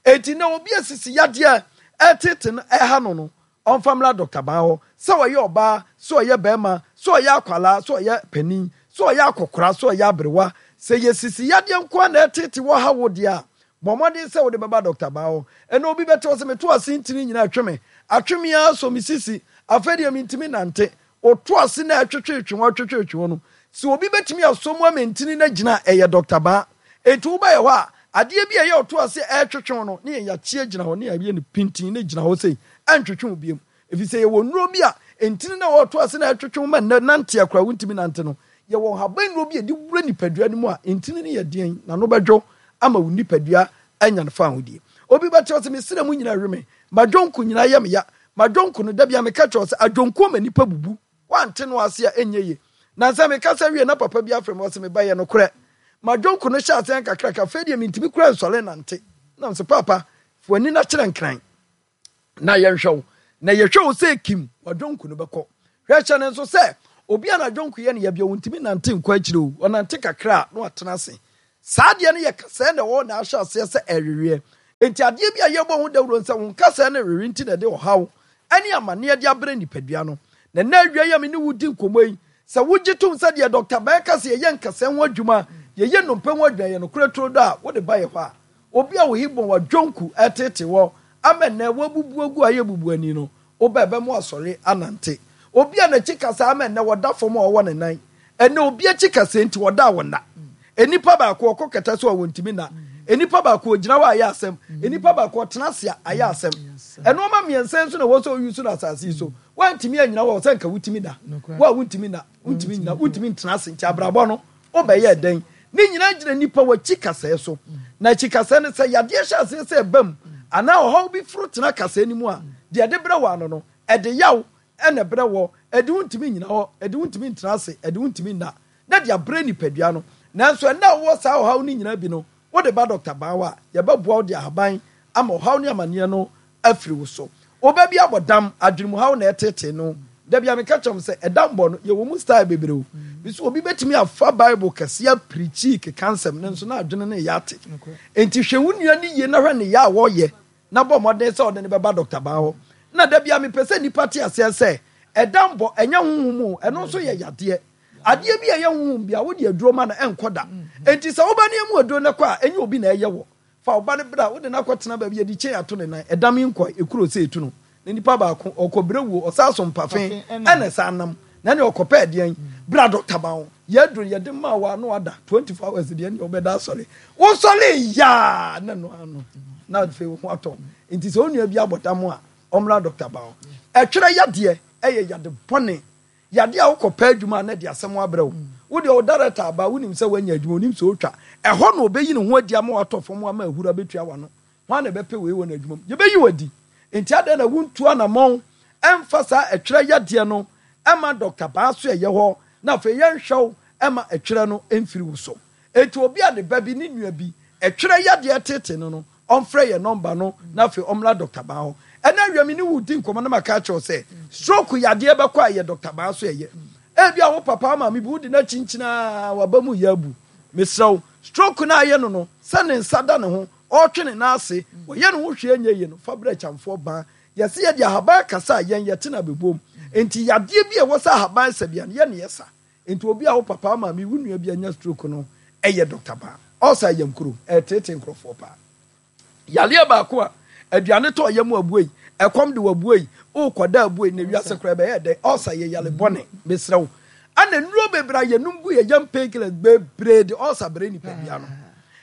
Speaker 5: enti na obi asisi yadeɛ ɛtete no ɛha no no ɔmfa mmra Doctor Baa hɔ sɛ ɔyɛ ɔbaa sɛ ɔyɛ bɛrima sɛ ɔyɛ akwalaa sɛ ɔyɛ panin sɛ ɔyɛ akɔkora sɛ ɔyɛ aberewa sɛ yɛsisi yadeɛ nko a na ɛtete wɔ ha wo deɛ a bɔ mmɔden sɛ wode bɛba Doctor Baa hɔ ɛna obi bɛte wɔ sɛ meto ase ntini nyinaa atwe me atwe me ara so me sisi afei deɛ mentumi nante ɔto ase na ɛtwetwetwe hɔ twetwetwe hɔ no sɛ obi bɛtumi asɔ mu ama ntini no gyina ɛyɛ Doctor Baa enti wobayɛ hɔ a adeɛ bi a ɛyɛ ɔto ase ɛtwetwe no ne yɛn yɛakye gyina hɔ ne yɛayɛ no pintin ne gyina hɔ sei ɛntwetwe wo biom ɛfiri sɛ yɛwɔ nnuro bi a ntini na wɔto ase na ɛtwetwe ma nnɛ nante akora wontumi nante no yɛwɔ nhaban nnuro bi a yɛde wura nipadua no mu a ntini no yɛ deɛn na no bɛdwo ama wo nipadua anya no fa ahodie. Obi bɛkyerɛ sɛ mesrɛ mu nyinaa hwe me, madwonko nyinaa yɛ me ya. Madwonko no, da bia meka kyerɛ sɛ adwonko ma nipa bubu. Wante no ase a ɛnyɛ ye. Na sɛ meka sɛ wie na papa bi afrɛ me, ɔsɛ meba yɛ nokorɛ. Madwonko no hyɛ aseɛ nkakraka, afei deɛ mentumi kura nsɔre nante. Nam sɛ papa, fo ani na kyerɛ nkran na yɛnhwɛ wo. Na yɛhwɛ wo sɛ kim, wadwonko no bɛkɔ. Hwɛ hyɛ no nso sɛ obi a n'adwonko yɛ no yɛ bia wɔntumi nante nkɔ akyire o, ɔnante kakra a na watena ase. Saa adeɛ no yɛ kasɛɛ na ɛwɔ na ahyɛ aseɛ sɛ ɛreweɛ. Enti adeɛ bi a yɛbɔ ho dawuro sɛ wo nkasɛɛ no rewe nti na ɛde ɔhaw ne amanneɛ de abrɛ nipadua no. Na na awia yi a me ne wo di nkɔmmɔ yi, sɛ wogye tom sɛ deɛ Dɔkta Bɛn ka sɛ yɛyɛ nkasɛɛ ho adwuma, yɛyɛ nnompe ho adwuma, yɛ nokorɛ turodoo a, wode ba yɛ hɔ a, obi a ohibɔn wadwonku ɛtete hɔ ama nnɛ wabubu agu ayɛ bubuani no, woba ɛbɛmo asɔre anante. Obi a n'akyi kasa ama nnɛ wɔda fam a ɔwɔ ne nan. Ɛnɛ obi akyi kasa nti ɔda a wɔnna. Enipa baako ɔkɔ kɛtɛ so a wɔntumi nna. Enipa baako ogyina hɔ a ayɛ asɛm. Enipa baako ɔtena ase a ayɛ asɛm. Ɛnoɔma mmiɛnsa nso na ɛwɔ sɛ oyi so na asase yi so. Woantumi anyina hɔ sɛ nka wotumi da. Wo a wontumi nna, wontumi nyina, wontumi ntena ase nti abrabɔ no wobɛyɛ dɛn? Ne nyinaa gyina nipa w'akyi kasɛɛ so. Na akyi kasɛɛ no sɛ yadeɛ hyɛ aseɛ sɛ ɛba mu anaa ɔhaw bi foro tena kasɛɛ no mu a, deɛ ɛde brɛ wɔ ano no, ɛde yaw ɛna ɛbrɛ wɔ, ɛde wontumi nyina hɔ, ɛde wontumi ntena ase, ɛde wontumi nna, na de abrɛ nipadua no. Nanso ɛnna a wowɔ saa ɔhaw no nyinaa bi no, wode ba Dɔkta Baawa a, yɛbɛboa wo de ahaban ama ɔhaw ne amanneɛ no afiri wo so. Wo ba bi abɔ dam, adwenemuhaw na ɛtetee no. Da bi a meka kyerɛ mo sɛ, ɛdam bɔ no, yɛwɔ mu style bebree o. Bi so obi bɛtumi afa Bible kɛseɛ apirikyi keka nsɛm, nanso na adwene no yɛ ate. Enti hwɛ wo nua no yie na hwɛ ne yɛ a wɔyɛ, na bɔ mmɔden sɛ ɔde no bɛba Dɔkta Baa hɔ. Na da bi a mepɛ sɛ nnipa te aseɛ sɛ, ɛdam bɔ, ɛnyɛ honhom o, ɛno nso yɛ yadeɛ. Adeɛ bi a ɛyɛ honhom bi a wode aduro ma no ɛnkɔ da. Enti sɛ woba ne mu aduro no kɔ a, ɛnyɛ obi na ɛyɛ wɔ. Fa wo ba no bra, wode no akɔtena baabi yɛde kyɛn ato ne nan, ɛdam yi nkɔ, ekuro sɛ etu no. Na nipa baako, ɔkɔ brɛ wuo, ɔsan so mpafe, ɛna ɛsan nam. Na ɛne ɔkɔpɛ ɛdeɛn? Bra dɔkta ba ho. Yɛ aduro yɛde maa wo ano ada twenty four hours deɛ ɛne ɔbɛda asɔre. Wosɔre yaa na no ano. Na afei wo ho atɔ. Nti sɛ onua bi abɔ dam a, ɔmmra dɔkta ba ho. Ɛtwerɛ yadeɛ ɛyɛ yade bɔne. Yade a wokɔpɛ adwuma a na ɛde asɛm abrɛ wo. Wo deɛ wo director aba, wonim sɛ woanya adwuma, onim sɛ otwa. Ɛhɔ na ɔbɛyi ne ho adi ama watɔ fam ama ahuru abɛtua w'ano. Hwan na ɛbɛpɛ wei wɔ n'adwuma mu? Yɛbɛyi wo adi. Enti adɛn na wontu anammɔn ɛmfa saa ɛtwerɛ yadeɛ no ɛma Dɔkta Baa so ɛyɛ hɔ na afei yɛnhwɛ wo ɛma ɛtwerɛ no ɛmfiri wo so. Enti obi a ne ba bi, ne nua bi, ɛtwerɛ yadeɛ tete no no, ɔmfrɛ yɛn nɔmba no na afei ɔmmra Dɔkta Baa hɔ. Ɛna awia me ne wo di nkɔmmɔ na maka akyerɛ wo sɛ stroke yadeɛ bɛkɔ a ɛyɛ Dɔkta Baa so ɛyɛ. Ebi a wo papa maame bi wode no akyinkyini a waba mu yɛ abu. Mesrɛ wo, stroke no a ayɛ no no, sɛ ne nsa da ne ho, ɔretwe ne nan ase, wɔyɛ ne ho hwee nyɛ yie no, fa brɛ Kyamfoɔ Baa. Yɛse yɛde ahaban kasa a yɛn yɛte no abɛbom. Enti yadeɛ bi a ɛwɔ sɛ ahaban sa bia no, yɛ ne yɛsa. Enti obi a wo papa, maame, wo nua bi anya stroke no, ɛyɛ Dɔkta Baa. Ɔsa yam kuro, ɛreteetee nkurɔfoɔ paa. Yareɛ baako a aduane tɔ yam abuei, ɛkɔm de wabuei, wokɔda abuei, na wiase koraa ɛbɛyɛ dɛ. Ɔsa yɛ yare bɔne, mesrɛ wo. Ɛna nnuro bebree a yɛnum gu yɛ yam, painkillers bebree de ɔsa brɛ nipadua no.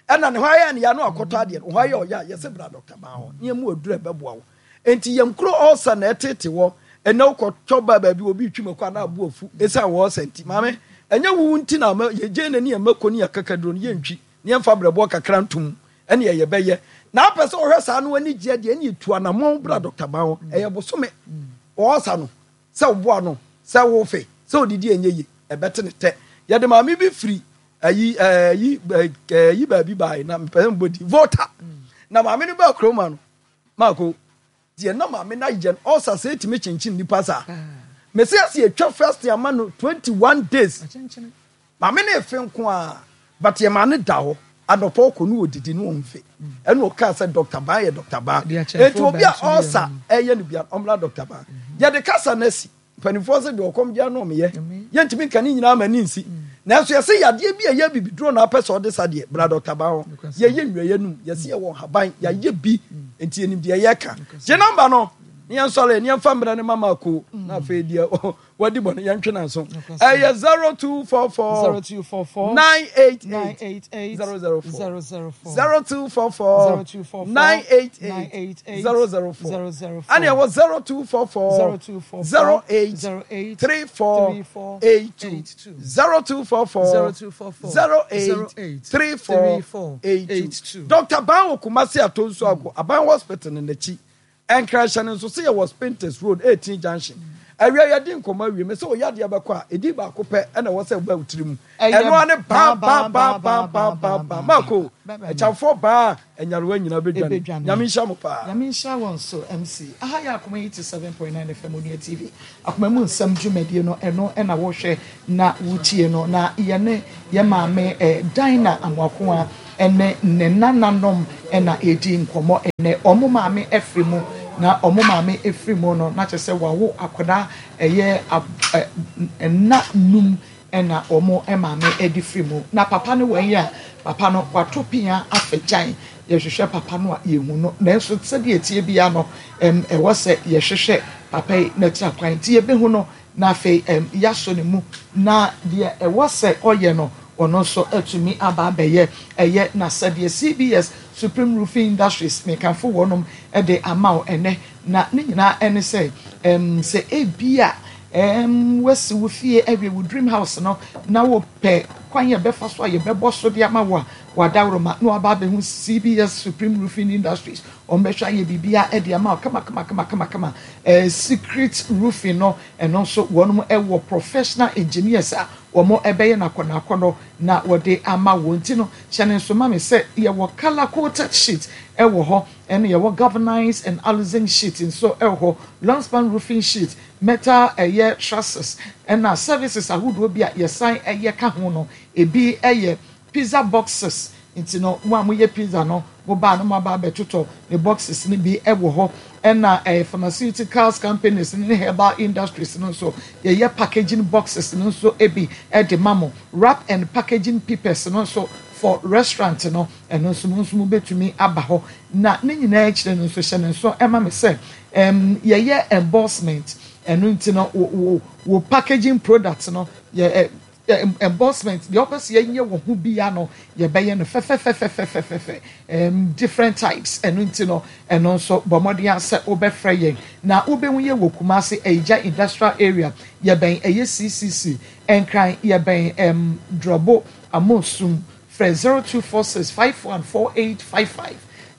Speaker 5: Ɛna ne hɔ ayɛ ne ya no akɔtɔ adeɛ no, hɔ ayɛ ɔyɛ a yɛsɛ bra Dɔkta Baa hɔ ne ɛmu aduro a ɛbɛboa wo. Enti yam kuro ɔsa na ɛtete wɔ. Ɛnɛ wokɔtɔ ba baabi obi retwi mako anaa abo afu ɛsiane wɔ ɔsa nti. Maame, ɛnyɛ wo nti na yɛgye n'ani yɛn mako ne yɛkakaduro no yɛntwi ne yɛmfa brɛboɔ kakra ntom ɛne ɛyɛ bɛyɛ. Na apɛ sɛ ɔhwɛ saa no ani gyeɛ deɛ ɛne ɛtu anammɔn bra Dɔkta Ban hɔ. Ɛyɛ bosome ɔɔsa no sɛ woboa no sɛ wofe sɛ odidi ɛnyɛ yie ɛbɛte ne tɛ. Yɛde maame bi firi ayi ayi ayi baabi bae na mepɛ sɛ mbɔ di Volta. Na maame no baa kurom ano Maako deɛ na maame no ayɛ no ɔsa sɛ ɛtumi kyenkyen nipa saa. Mese ase atwa first ama no twenty one days. Maame no efe nko a, but yɛ maa no da hɔ. Anɔpa ɔkɔ no odidi no ɔnfe. Ɛna ɔkaa sɛ Doctor Baa yɛ Doctor Baa. Enti obi a ɔsa ɛyɛ no bia ɔmmra Doctor Baa. Yɛde kasa no asi. Mpanimfoɔ sɛ deɛ ɔkɔm gye ano ɔmeyɛ. Yɛntumi nka ne nyinaa ma ne nsi. Nanso yɛsɛ yadeɛ bi a ɛyɛ bibiduro na apɛ sɛ ɔde sa deɛ, bra Doctor Baa hɔ. Yɛyɛ nnua yɛnum. Yɛsɛ yɛwɔ nhaban. Yɛayɛ bi. Enti yɛnim deɛ yɛka. Gye namba no. Ne yɛnsɔre ne yɛmfa mmerɛ no ma Maako, na afei deɛ wadi bɔ no yɛntwe nanso. Ɛyɛ zero two four four
Speaker 2: zero two four four
Speaker 5: nine eight eight
Speaker 2: nine eight eight
Speaker 5: zero zero four
Speaker 2: zero zero four
Speaker 5: zero two four four
Speaker 2: zero two four four
Speaker 5: nine eight eight zero zero four
Speaker 2: zero zero four.
Speaker 5: Ɛne ɛwɔ zero two four four
Speaker 2: zero two four four
Speaker 5: zero eight
Speaker 2: zero eight
Speaker 5: three four
Speaker 2: three four
Speaker 5: eight two
Speaker 2: eight two
Speaker 5: zero two four four
Speaker 2: zero two four four
Speaker 5: zero eight
Speaker 2: zero eight
Speaker 5: three four
Speaker 2: three four
Speaker 5: eight two.
Speaker 2: eight two.
Speaker 5: Doctor Ban wɔ Kumasi Ato nso ago Aban Hospital no n'akyi. Ɛnkra hyɛ no nso sɛ yɛwɔ Spintex Road eighteen junction. Awia yɛdi nkɔmɔ awie mɛ sɛ oyɛ adeɛ bɛkɔ a, ɛdi baako pɛ ɛna ɛwɔ sɛ ɛba wo tiri mu.
Speaker 2: Ɛyɛ
Speaker 5: ɛno ane baa baa
Speaker 2: baa
Speaker 5: baa
Speaker 2: baa
Speaker 5: baa
Speaker 2: baa
Speaker 5: baa baa
Speaker 2: baa
Speaker 5: baa Maako
Speaker 2: baa.
Speaker 5: ɛkyamfoɔ baa ɛnyarewa nyinaa bɛdwane.
Speaker 2: Ɛbɛdwane.
Speaker 5: Nyame nhyia mo paa.
Speaker 2: Nyame nhyira wɔn so. M C aha yɛ Akoma eighty-seven point nine F M Onua T V, Akoma mu Nsɛm dwumadie no, ɛno ɛna wɔhwɛ na wotie no, na yɛne yɛ maame eh, Dina Amoakoa ɛne ne nananom ɛna ɛdi nkɔmmɔ ɛnɛ. Ɔmo maame ɛfiri mu, na ɔmo maame ɛfiri mu no na kyerɛ sɛ wawo akwadaa ɛyɛ ab ɛ ɛna num ɛna ɔmo maame ɛde firi mu, na papa no wɔn yi a papa no wato pia afa gyan. Yɛhwehwɛ papa no a yɛhu no, nanso sɛdeɛ tie bia no ɛm ɛwɔ sɛ yɛhwehwɛ papa yi n'akyira kwan nti yɛbɛhu no, na afei ɛm yɛasɔ ne mu, na deɛ ɛwɔ sɛ ɔyɛ no, ɔno nso atumi aba abɛyɛ ɛyɛ n'asɛdeɛ. C B S Supreme Roofing Industries, mekanfo wɔnom ɛde ama wo ɛnɛ, na ne nyinaa ɛne sɛ ɛm sɛ ebia ɛm wasi wo fie awie, wo dream house no, na wopɛ kwan yɛ bɛfa so a yɛbɛbɔ so de ama wo a, wadaworoma na waba abɛhu C B S Supreme Roofing Industries. Wɔn bɛhwɛ ayɛ biribiara ɛde ama wo kama kama kama kama kama. ɛɛ secret roofing no, ɛno nso wɔn ɛwɔ professional engineers a wɔn ɛbɛyɛ n'akɔnakɔnɔ na wɔde ama wɔn. Ti no hyɛ ne nso ma mi sɛ yɛwɔ colour coated sheet ɛwɔ hɔ, ɛna yɛwɔ galvanized and aluzinc sheet nso ɛwɔ hɔ, long span roofing sheet, metal ɛyɛ trusses, ɛna services ahodoɔ bi a yɛsan ɛyɛ ka ho no, ebi ɛyɛ pizza boxes. Nti no mo a moyɛ pizza no, mo baa no mo aba abɛtotɔ ne boxes no bi ɛwɔ hɔ, ɛna ɛyɛ pharmaceuticals companies ne herbal industries no nso, yɛyɛ packaging boxes no nso ebi ɛde ma mo. Wrap and packaging papers no nso for restaurant no, ɛno nso mo nso mo bɛtumi aba hɔ. Na ne nyinaa akyerɛ no nso, hyɛ ne nso ɛma me sɛ ɛm yɛyɛ embossment. Ɛno nti no wo wo wo packaging product no, yɛ ɛ embossment deɛ ɔpɛ sɛ yɛnyɛ wɔ ho bia no, yɛbɛyɛ no fɛfɛfɛfɛfɛfɛ, um, different types. Ɛno nti no ɛno nso bɔ mmɔden asɛ wobɛfrɛ yɛn na wobɛhu yɛ wɔ Kumase Ɛyigya Industrial Area, yɛbɛn ɛyɛ C C C. Nkran, yɛbɛn um, Drɔbo Amosum. Frɛ zero two four six five one four eight five five,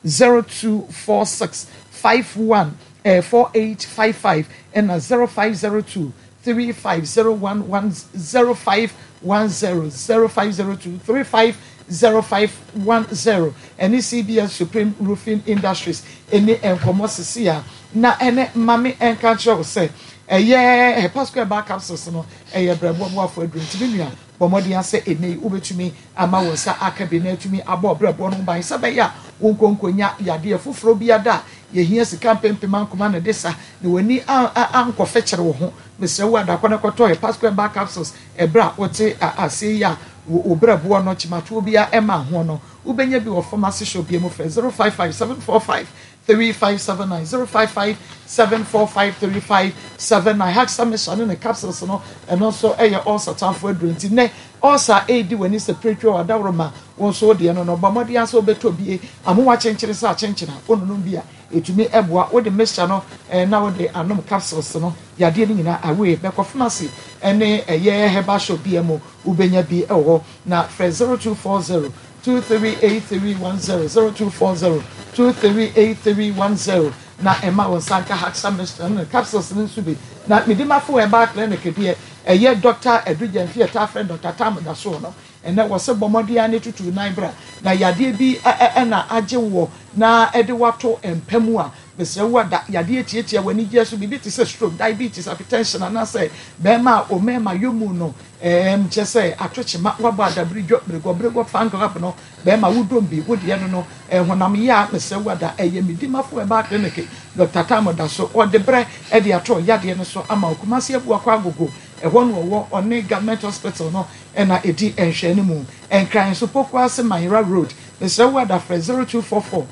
Speaker 2: zero two four six five one eh, four eight five five, ɛna zero five zero two three five zero one one zero five one zero, zero five zero two three five zero five one zero. Ɛne C B S Supreme Roofing Industries ɛne nkɔmɔ sisi a, na ɛne maame ɛnka kyerɛ wo sɛ ɛyɛ Hepasco herbal capsules no ɛyɛ brɛboaboafo aduro. Nti me nua, bɔ mmɔden asɛ ɛnɛ yi wobɛtumi ama wɔn nsa aka bi na atumi abɔ brɛboɔ no ho ban sɛ bɛyɛ a wo nkonkonya yadeɛ foforɔ bi ada a yɛhia sika mpempem ankoma na de sa na w'ani ankɔfɛ kyerɛ wo ho. Mesrɛ wo, adakɔ no kɔtɔ Hepasco herbal capsules. Ɛberɛ a wote aseɛ yi a wo brɛboɔ no kyimatoɔ bi a ɛma ho no, wobɛnya bi wɔ pharmacy shop bi mu. Frɛ zero five five seven four five three five seven nine, zero five five seven four five three five seven nine. Haxa Mixture ne ne capsules no, ɛno nso ɛyɛ ulcer tamfo aduro. Nti nnɛ ulcer ɛredi w'ani sɛ piretwa wɔ adaworoma wɔn nso deɛ no no bɔ mmɔden asɛ wobɛtɔ bie amowa kyenkyene sɛ akyenkyene a wononom bi a ɛtumi ɛboa wode mixture no ɛɛ na wode anom capsules no, yadeɛ no nyinaa awoe bɛkɔ. Pharmacy ɛne ɛyɛ herbal shop bi mu, wobɛnya bi ɛwɔ hɔ. Na frɛ zero two four zero two three eight three one zero, zero two four zero two three eight three one zero, na ɛma wɔn nsa nka Haxa mixture no ne capsules no nso bi. Na Medimafo Herbal Clinic deɛ, ɛyɛ Doctor Adugyanfi ɛta frɛ Doctor Tam da so no, ɛnɛ wɔsɛ bɔ mmɔden a ne tutu nan bra na yadeɛ bi ɛna agye wɔ na ɛde wato mpa mu a, mesrɛ wo ada yadeɛ tietia w'ani gye so, biribi te sɛ stroke, diabetes, hypertension, anaasɛ bɛrima a ɔmɛɛma yɔ no ɛɛm kyɛ sɛ atokyema wabɔ adabiridwo beregɔ fan club no, bɛrima wodom bi wodeɛ no no ɛhonam yɛ a, mesrɛ wo ada ɛyɛ Medimafo Herbal Clinic, Doctor Tam da so ɔde brɛ ɛde ato yadeɛ no so ama Okumase Abuakɔ Agogo, ɛhɔ no ɔwɔ ɔne Government Hospital no ɛna ɛdi nhwɛ no mu. Nkran nso, Pokuase Mayera Road. Mesrɛ wo adafrɛ zero two four four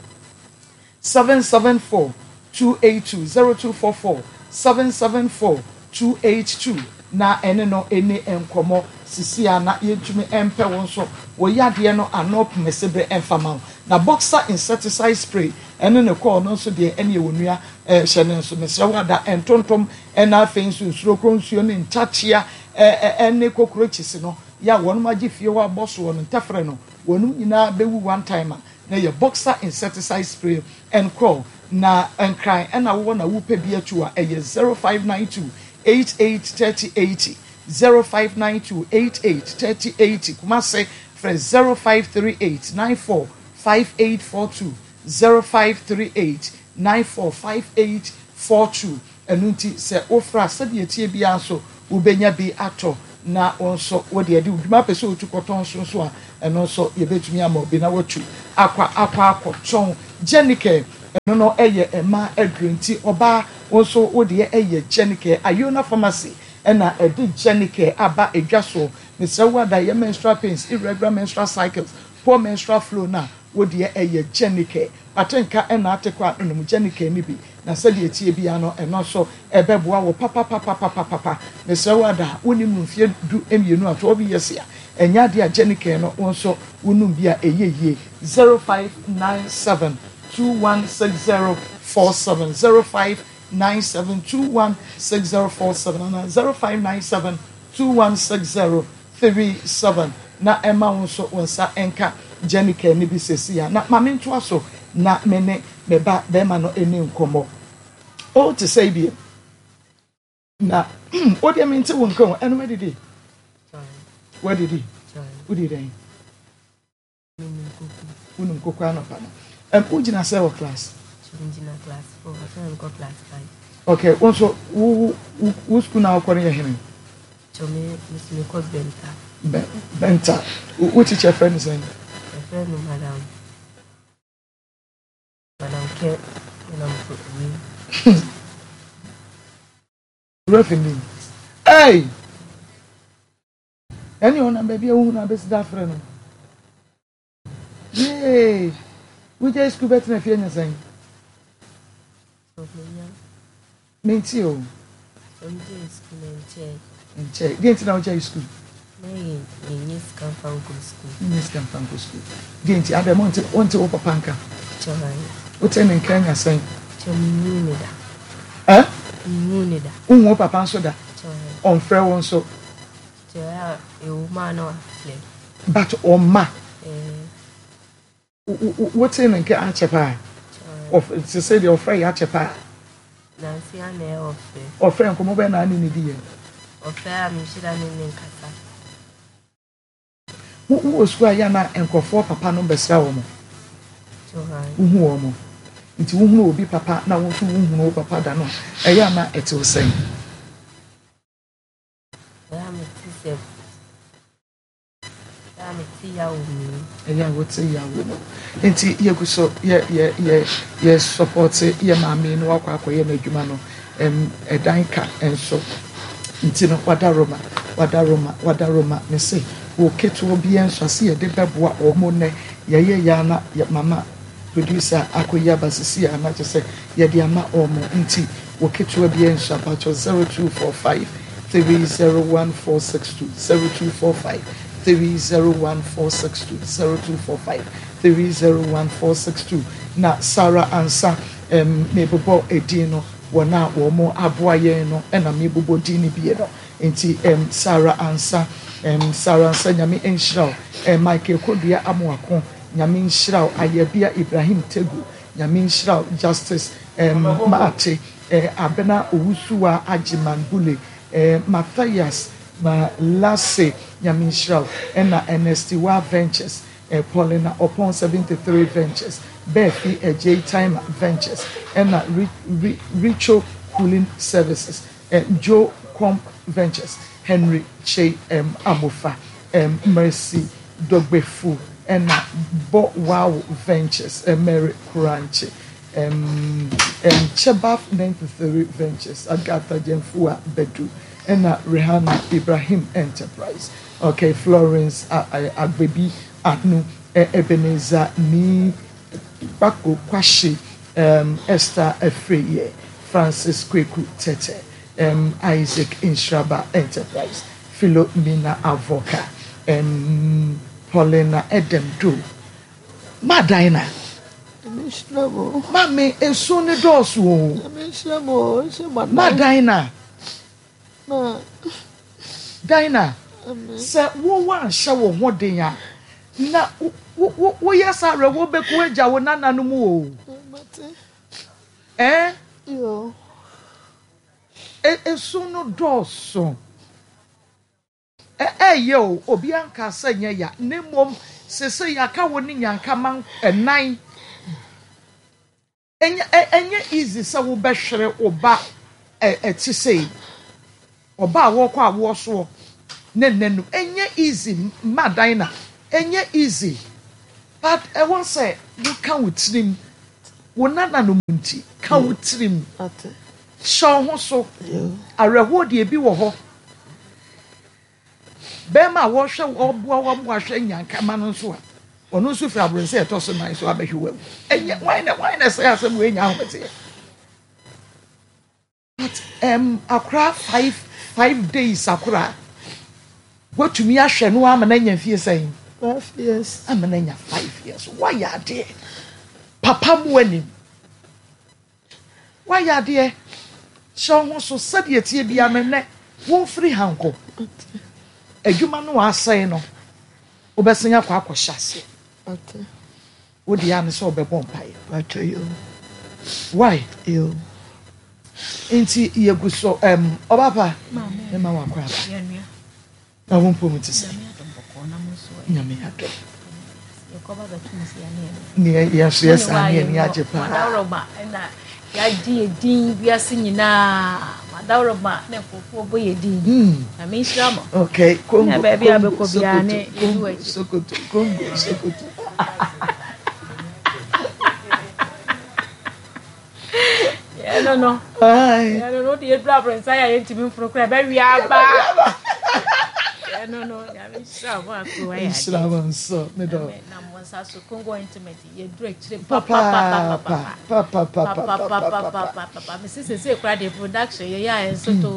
Speaker 2: seven seven four two eight two zero two four four seven seven four two eight two na ɛne no ɛni nkɔmɔ sisi a na yɛntumi mpɛ wɔn nso wɔyɛ adeɛ no ano pɔmɛsɛ ɛmfa ma wo. Na Boxer insecticide spray ɛne ne kɔɔ no nso deɛ, ɛne ɛwɔ nua ɛhyɛ ne nso. Mesrɛ wo ada, ntontom ɛna afei nso nsuro kuro nsuo ne ntakyea ɛne cockroaches no yɛ a wɔn agye fie hɔ abɔ soɔ no, ntɛfrɛ no, wɔn nyinaa bɛwu one time a na yɛ Boxer insecticide spray and crawl. Na Nkran ɛna wowɔ na wopɛ bi atu a, ɛyɛ zero five nine two eight eight thirty eighty, zero five nine two eight eight thirty eighty. Kumase, frɛ zero five three eight nine four five eight four two, zero five three eight nine four five eight four two. Ɛno nti sɛ wofra sɛdeɛ tie biara nso, wobɛnya bi atɔ na wɔn nso wɔde ɛde dwuma pɛ sɛ otu kɔtɔn nso nso a, ɛno nso yɛbɛtumi ama obi na watu akɔ akɔ akɔtɔn. Jenicare, ɛno no ɛyɛ mmaa aduro, nti ɔbaa wɔn nso wɔdeɛ ɛyɛ Jenicare. Ayona Pharmacy ɛna ɛde Jenicare aba edwa so. Mesrɛ wo ada, yɛ menstrual pains, irregular menstrual cycles, poor menstrual flow, na wɔdeɛ ɛyɛ Jenicare. Patenka ɛna ate kɔ a ɛnum Jenicare ni bi na sɛdeɛ tie bia no, ɛno nso ɛbɛboa wɔ papapapapapa. Mesrɛ wo ada, wonim no mfie du mmienu a, twelve years a, ɛnyɛ adeɛ a Jenicare no wɔn nso wonum bi a ɛyɛ yie. zero five nine seven two one six zero four seven, zero five nine seven two one six zero four seven ana zero five nine seven two one six zero three seven na ɛma wo nso wo nsa nka Jenicare ni bi sɛsi a. Na maame ntoa so na me ne me ba bɛrima no ani nkɔmmɔ o te sɛ bi na o deɛ mente wo nka o. Ɛno wadidi, wadidi, wodi dɛn? Wonim koko anɔpa no. ɛm wogyina sɛ wɔ class?
Speaker 6: Gyina class four, ɔsɛ nkɔ class five.
Speaker 2: Okay, wo nso wo wo wo school na wokɔ no yɛ hene?
Speaker 6: Kyɛ me me mekɔ Bɛnta.
Speaker 2: Bɛ bɛnta wo wo teacher frɛ no sɛn?
Speaker 6: Yɛfrɛ no Madam Madam Kɛ Madam Wei.
Speaker 2: Referee hey, ɛne ɔnam baabi a wohu no abɛsi da frɛ no. Yee, wogya sukuu bɛtena fie anya sɛn?
Speaker 6: Ɔmenya.
Speaker 2: Menti o.
Speaker 6: Ɔmegye sukuu na nkyɛn.
Speaker 2: Nkyɛ deɛ nti na wogya sukuu?
Speaker 6: Na yɛ yɛnyɛ sika mfa nkɔ sukuu.
Speaker 2: Nyɛ sika mfa nkɔ sukuu deɛ nti adɛ mo nte wonte wo papa nka?
Speaker 6: Kyɛ han.
Speaker 2: Wote ne nka anya sɛn?
Speaker 6: Kyɛ menhu ne da.
Speaker 2: Ɛ?
Speaker 6: Menhu ne da.
Speaker 2: Wohu wo papa nso da?
Speaker 6: Kyɛ han.
Speaker 2: Ɔmfrɛ wo nso?
Speaker 6: Kyɛ a ɛwɔ mu a na wafrɛ.
Speaker 2: But ɔma
Speaker 6: Ɛɛ.
Speaker 2: wote ne nka akyɛ paa?
Speaker 6: Kyɛ han.
Speaker 2: Ɔf- te sɛ deɛ ɔfrɛ yɛ akyɛ paa?
Speaker 6: Nansi a na ɛyɛ ɔfrɛ.
Speaker 2: Ɔfrɛ, nkɔmmɔ bɛɛ na ane ne di yɛ?
Speaker 6: Ɔfrɛ a, menhyira ne ne nkasa.
Speaker 2: Wo wowɔ sukuu a, yɛ na nkurɔfoɔ papa no bɛsra wɔ mo?
Speaker 6: Kyɛ han.
Speaker 2: Wohu wɔ mo nti wohunu obi papa na wo nso wohunu wo papa da no a, ɛyɛ ama ɛte wo sɛn?
Speaker 6: Ɛyɛ a mete sɛ ɛyɛ a mete yaw wɔ mu.
Speaker 2: Ɛyɛ a wote yaw wɔ mu. Nti yɛgu so yɛ yɛ yɛ yɛ support yɛ maame no wakɔ akɔyɛ n'adwuma no. ɛm ɛdan ka nso nti no, wada Roma, wada Roma, wada Roma. Ne se wɔ ketewa biara nso ase yɛde bɛboa wɔn. Nnɛ yɛyɛ yɛ ana yɛ mama producer akɔyi aba sisi a na kyerɛ sɛ yɛde ama wɔn. Nti wɔ ketewa biara nso abakyɛw, zero two four five three zero one four six two, zero two four five three zero one four six two, zero two four five three zero one four six two. Na Sarah Ansa, um, mebobɔ edin no, wɔn a wɔn aboa yɛn no ɛna mebobɔ din no bie no. Nti um, Sarah Ansa, um, Sarah Ansa, Nyame nhyira wo. um, Michael Kodua Amoako, Nyame nhyira wo. Ayɛbea Ibrahim Tegu, Nyame nhyira wo. Justice um, Maate, uh, Abena Owusuwa Agyeman Bule, uh, Matthias Malase, Nyame nhyira wo. Ɛna Ernest Wa Ventures, uh, Paulina Opon seventy-three Ventures, Befi J Time Ventures, ɛna Richo Cooling Services, uh, Joe Comp Ventures, Henry Che um, Amofa, um, Mercy Dogbefu, ɛna Bo Wow Ventures, uh, Mary Kuranche, um, um, Chebaf ninety-three Ventures, Agatha Jemfua Bedu, ɛna Rihanna Ibrahim Enterprise. Okay, Florence uh, uh, Agbebi Anu, uh, Ebenezer Ni Bako Kwashi, um, Esther Afriyie, Francis Kweku Tete, um, Isaac Nhyiraba Enterprise, Philomena Avoka, um, Paulina Edem Do. Ma Dinah. Maame, esu ne dɔɔso o. Ma Dinah. Dinah, sɛ wo wanhyɛ wo ho den a, na woyɛ saa awerɛhoɔ bɛku agya wo nananom o. Eh? Esu no dɔɔso. Ɛyɛ o, obi anka sɛ nyɛ ya. Na mmom, sese yɛaka wo ne nyankama ɛnan. Ɛnyɛ easy sɛ wobɛhwere wo ba ɛte sei. Ɔba a wɔkɔ awoɔ soɔ ne nnanu. Ɛnyɛ easy, ma Dinah. Ɛnyɛ easy. But ɛwɔ sɛ woka wo tirim. Wo nananom nti, ka wo tirim. Hyɛ wo ho so. Awerɛhoɔ deɛ bi wɔ hɔ. Bɛrima a wɔhwɛ ɔboa wɔn ahwɛ nyankama no nso a, ɔno nso firi aborɔnsɛ ɛtɔ so nan so abɛhwɛ wawu. Ɛnyɛ wɔn na wɔn na ɛsɛ asɛm wɔ enya ahometeɛ. But um, akora five five days akora watumi ahwɛ no ama n'anya fie sɛn.
Speaker 3: Five years.
Speaker 2: Ama n'anya five years. Wayɛ adeɛ. Papa mu anim. Wayɛ adeɛ. Hyɛ wo ho so sɛdeɛ tie bia no nnɛ womfiri ha nkɔ. Adwuma no asɛe no, wobɛsen akɔ akɔhyɛ aseɛ. Wode a ne sɛ wobɛbɔ mpaeɛ. Why?
Speaker 3: Yo.
Speaker 2: Nti yɛgu so um, ɔbapa mema wakɔ aba. Na wo mpom te sɛ Nyame adom. Ne yɛso yɛ saa ne ani agye paa.
Speaker 4: Yɛagye yɛ din wiase nyinaa. Madawroma ne nkurɔfoɔ bɔ yɛ din. Na menhyira mo.
Speaker 2: Okay, Congo,
Speaker 4: baabi a
Speaker 2: Congo,
Speaker 4: bɛkɔ biara ne
Speaker 2: Sokoto, Congo, Sokoto, Congo, Sokoto.
Speaker 4: Ɛno no. Ɛno no, wode yɛduru aborɔnsa yɛ a yɛntumi mforo koraa, ɛbɛwe aba. Ɛno no, Nyame nhyira mo ako ayɛ adeɛ.
Speaker 2: Nhyira mo nso, medɔ.
Speaker 4: Na mo nsa so Congo intimate yɛduru akyire
Speaker 2: Papa,
Speaker 4: papapapapa.
Speaker 2: papa, papa, papa, papa.
Speaker 4: Papapapapapa. Mesi sese koraa deɛ production yɛyɛ a ɛnso to.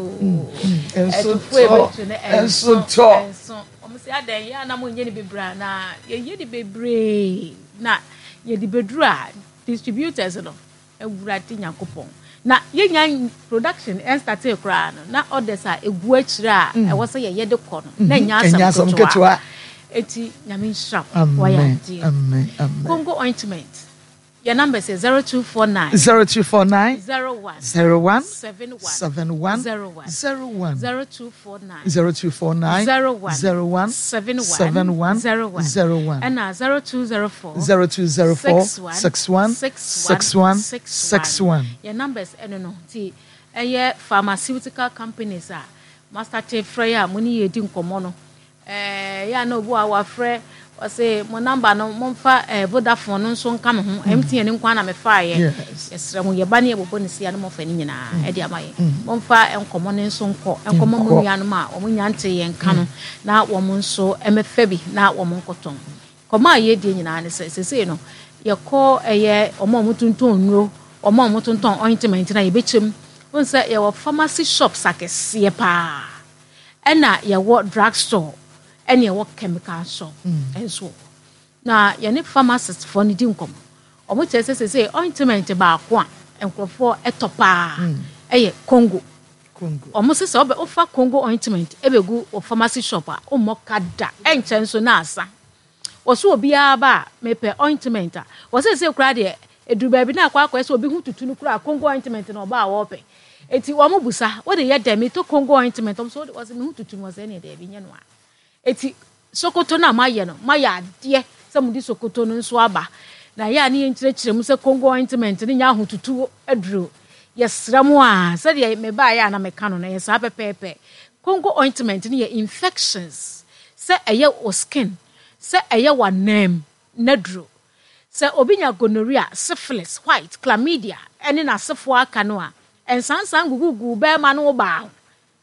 Speaker 2: Ɛnso
Speaker 4: Ɛtufu
Speaker 2: tɔ,
Speaker 4: ebetu no
Speaker 2: ɛnso
Speaker 4: ɛnso
Speaker 2: tɔ.
Speaker 4: ɛnso. Wɔn sɛ adan yɛ anam nyɛ ne bebree ana yɛyɛ ne bebree na yɛde beduru a distributors no Awurade Nyankopɔn na yɛnya production ɛnstate koraa no na orders a egu akyire a ɛwɔ sɛ yɛyɛ de kɔ no na ɛnya
Speaker 2: Ɛnyɛ
Speaker 4: asɛm
Speaker 2: asɛm
Speaker 4: ketewa.
Speaker 2: ketewa.
Speaker 4: Eti Nyame nhyira wo, wayɛ
Speaker 2: Amen,
Speaker 4: adeɛ.
Speaker 2: amen, amen.
Speaker 4: Congo ointment yɛ number sɛ zero two four nine
Speaker 2: Zero two four nine
Speaker 4: zero one
Speaker 2: zero one
Speaker 4: seven one
Speaker 2: seven one
Speaker 4: zero one
Speaker 2: zero one
Speaker 4: zero two four nine
Speaker 2: zero two four nine
Speaker 4: zero one
Speaker 2: zero one
Speaker 4: seven one
Speaker 2: seven one
Speaker 4: zero one
Speaker 2: zero one
Speaker 4: ɛna zero two zero four
Speaker 2: zero two zero four
Speaker 4: six one
Speaker 2: six one
Speaker 4: six
Speaker 2: six one six one.
Speaker 4: Yɛ numbers ɛno no nti ɛyɛ pharmaceutical companies a master te frɛ yɛ a mo ne yɛ di nkɔmɔ no ɛɛ yɛ a na obi a wafrɛ ɔsɛ mo number no momfa ɛɛ Vodafone no nso nka me ho, M T N nkwa na mefaeɛ.
Speaker 2: Yes.
Speaker 4: Yɛsrɛ mo, yɛba ne yɛbobɔ ne sia no mɔfa ne nyinaa ɛde ama yɛ. Momfa nkɔmɔ no nso nkɔ nkɔmɔ mo
Speaker 2: Nkɔ.
Speaker 4: nuanom a wɔn nya nte yɛn ka no na wɔn nso ɛmɛfɛ bi na wɔn nkɔtɔn. Kɔmɔ a yɛdie nyinaa ne sɛ sesei no yɛkɔ ɛyɛ wɔn a wɔtontɔn nnuro, wɔn a wɔtontɔn ointment na yɛbɛkyɛm wɔn sɛ yɛwɔ pharmacy shops akɛseɛ paa, ɛna yɛwɔ drug store, ɛna yɛwɔ chemical shop nso wɔ hɔ. Na yɛne pharmacist foɔ no di nkɔmɔ, wɔn kyerɛ sɛ sesei ointment baako a nkurɔfoɔ ɛtɔ paa ɛyɛ Congo.
Speaker 2: Congo.
Speaker 4: Ɔmo sɛ sɛ ɔbɛ wofa Congo ointment ɛbɛgu wɔ pharmacy shop a, ɔmmɔ ka da, ɛnkyɛn nso na asa. Wɔso obiara ba a mepɛ ointment a, wɔsɛ sɛ koraa deɛ eduru baabi na akɔ akɔyɛ sɛ obi ho tutu no koraa, Congo ointment na ɔba a wɔpɛ. Eti wɔn busa wɔde yɛ dɛ metɔ Congo ointment, wɔn so wɔsɛ me ho tutu no, wɔsɛ ɛne dɛbi nyɛ no a. Eti Sokoto no a mayɛ no, mayɛ adeɛ sɛ mo de Sokoto no nso aba na yɛ a ne yɛn kyerɛkyerɛ mu sɛ Congo ointment no nyɛ ahotutu aduro. Yɛsrɛ mo a sɛdeɛ mebaeɛ a na meka no no ɛyɛ saa pɛpɛɛpɛ. Congo ointment no yɛ infections, sɛ ɛyɛ wo skin, sɛ ɛyɛ w'anam n'aduro, sɛ obi nya gonorrhea, syphilis, white, chlamydia ɛne n'asefoɔ aka no a nsansan gugugu bɛrima no wo baa ho,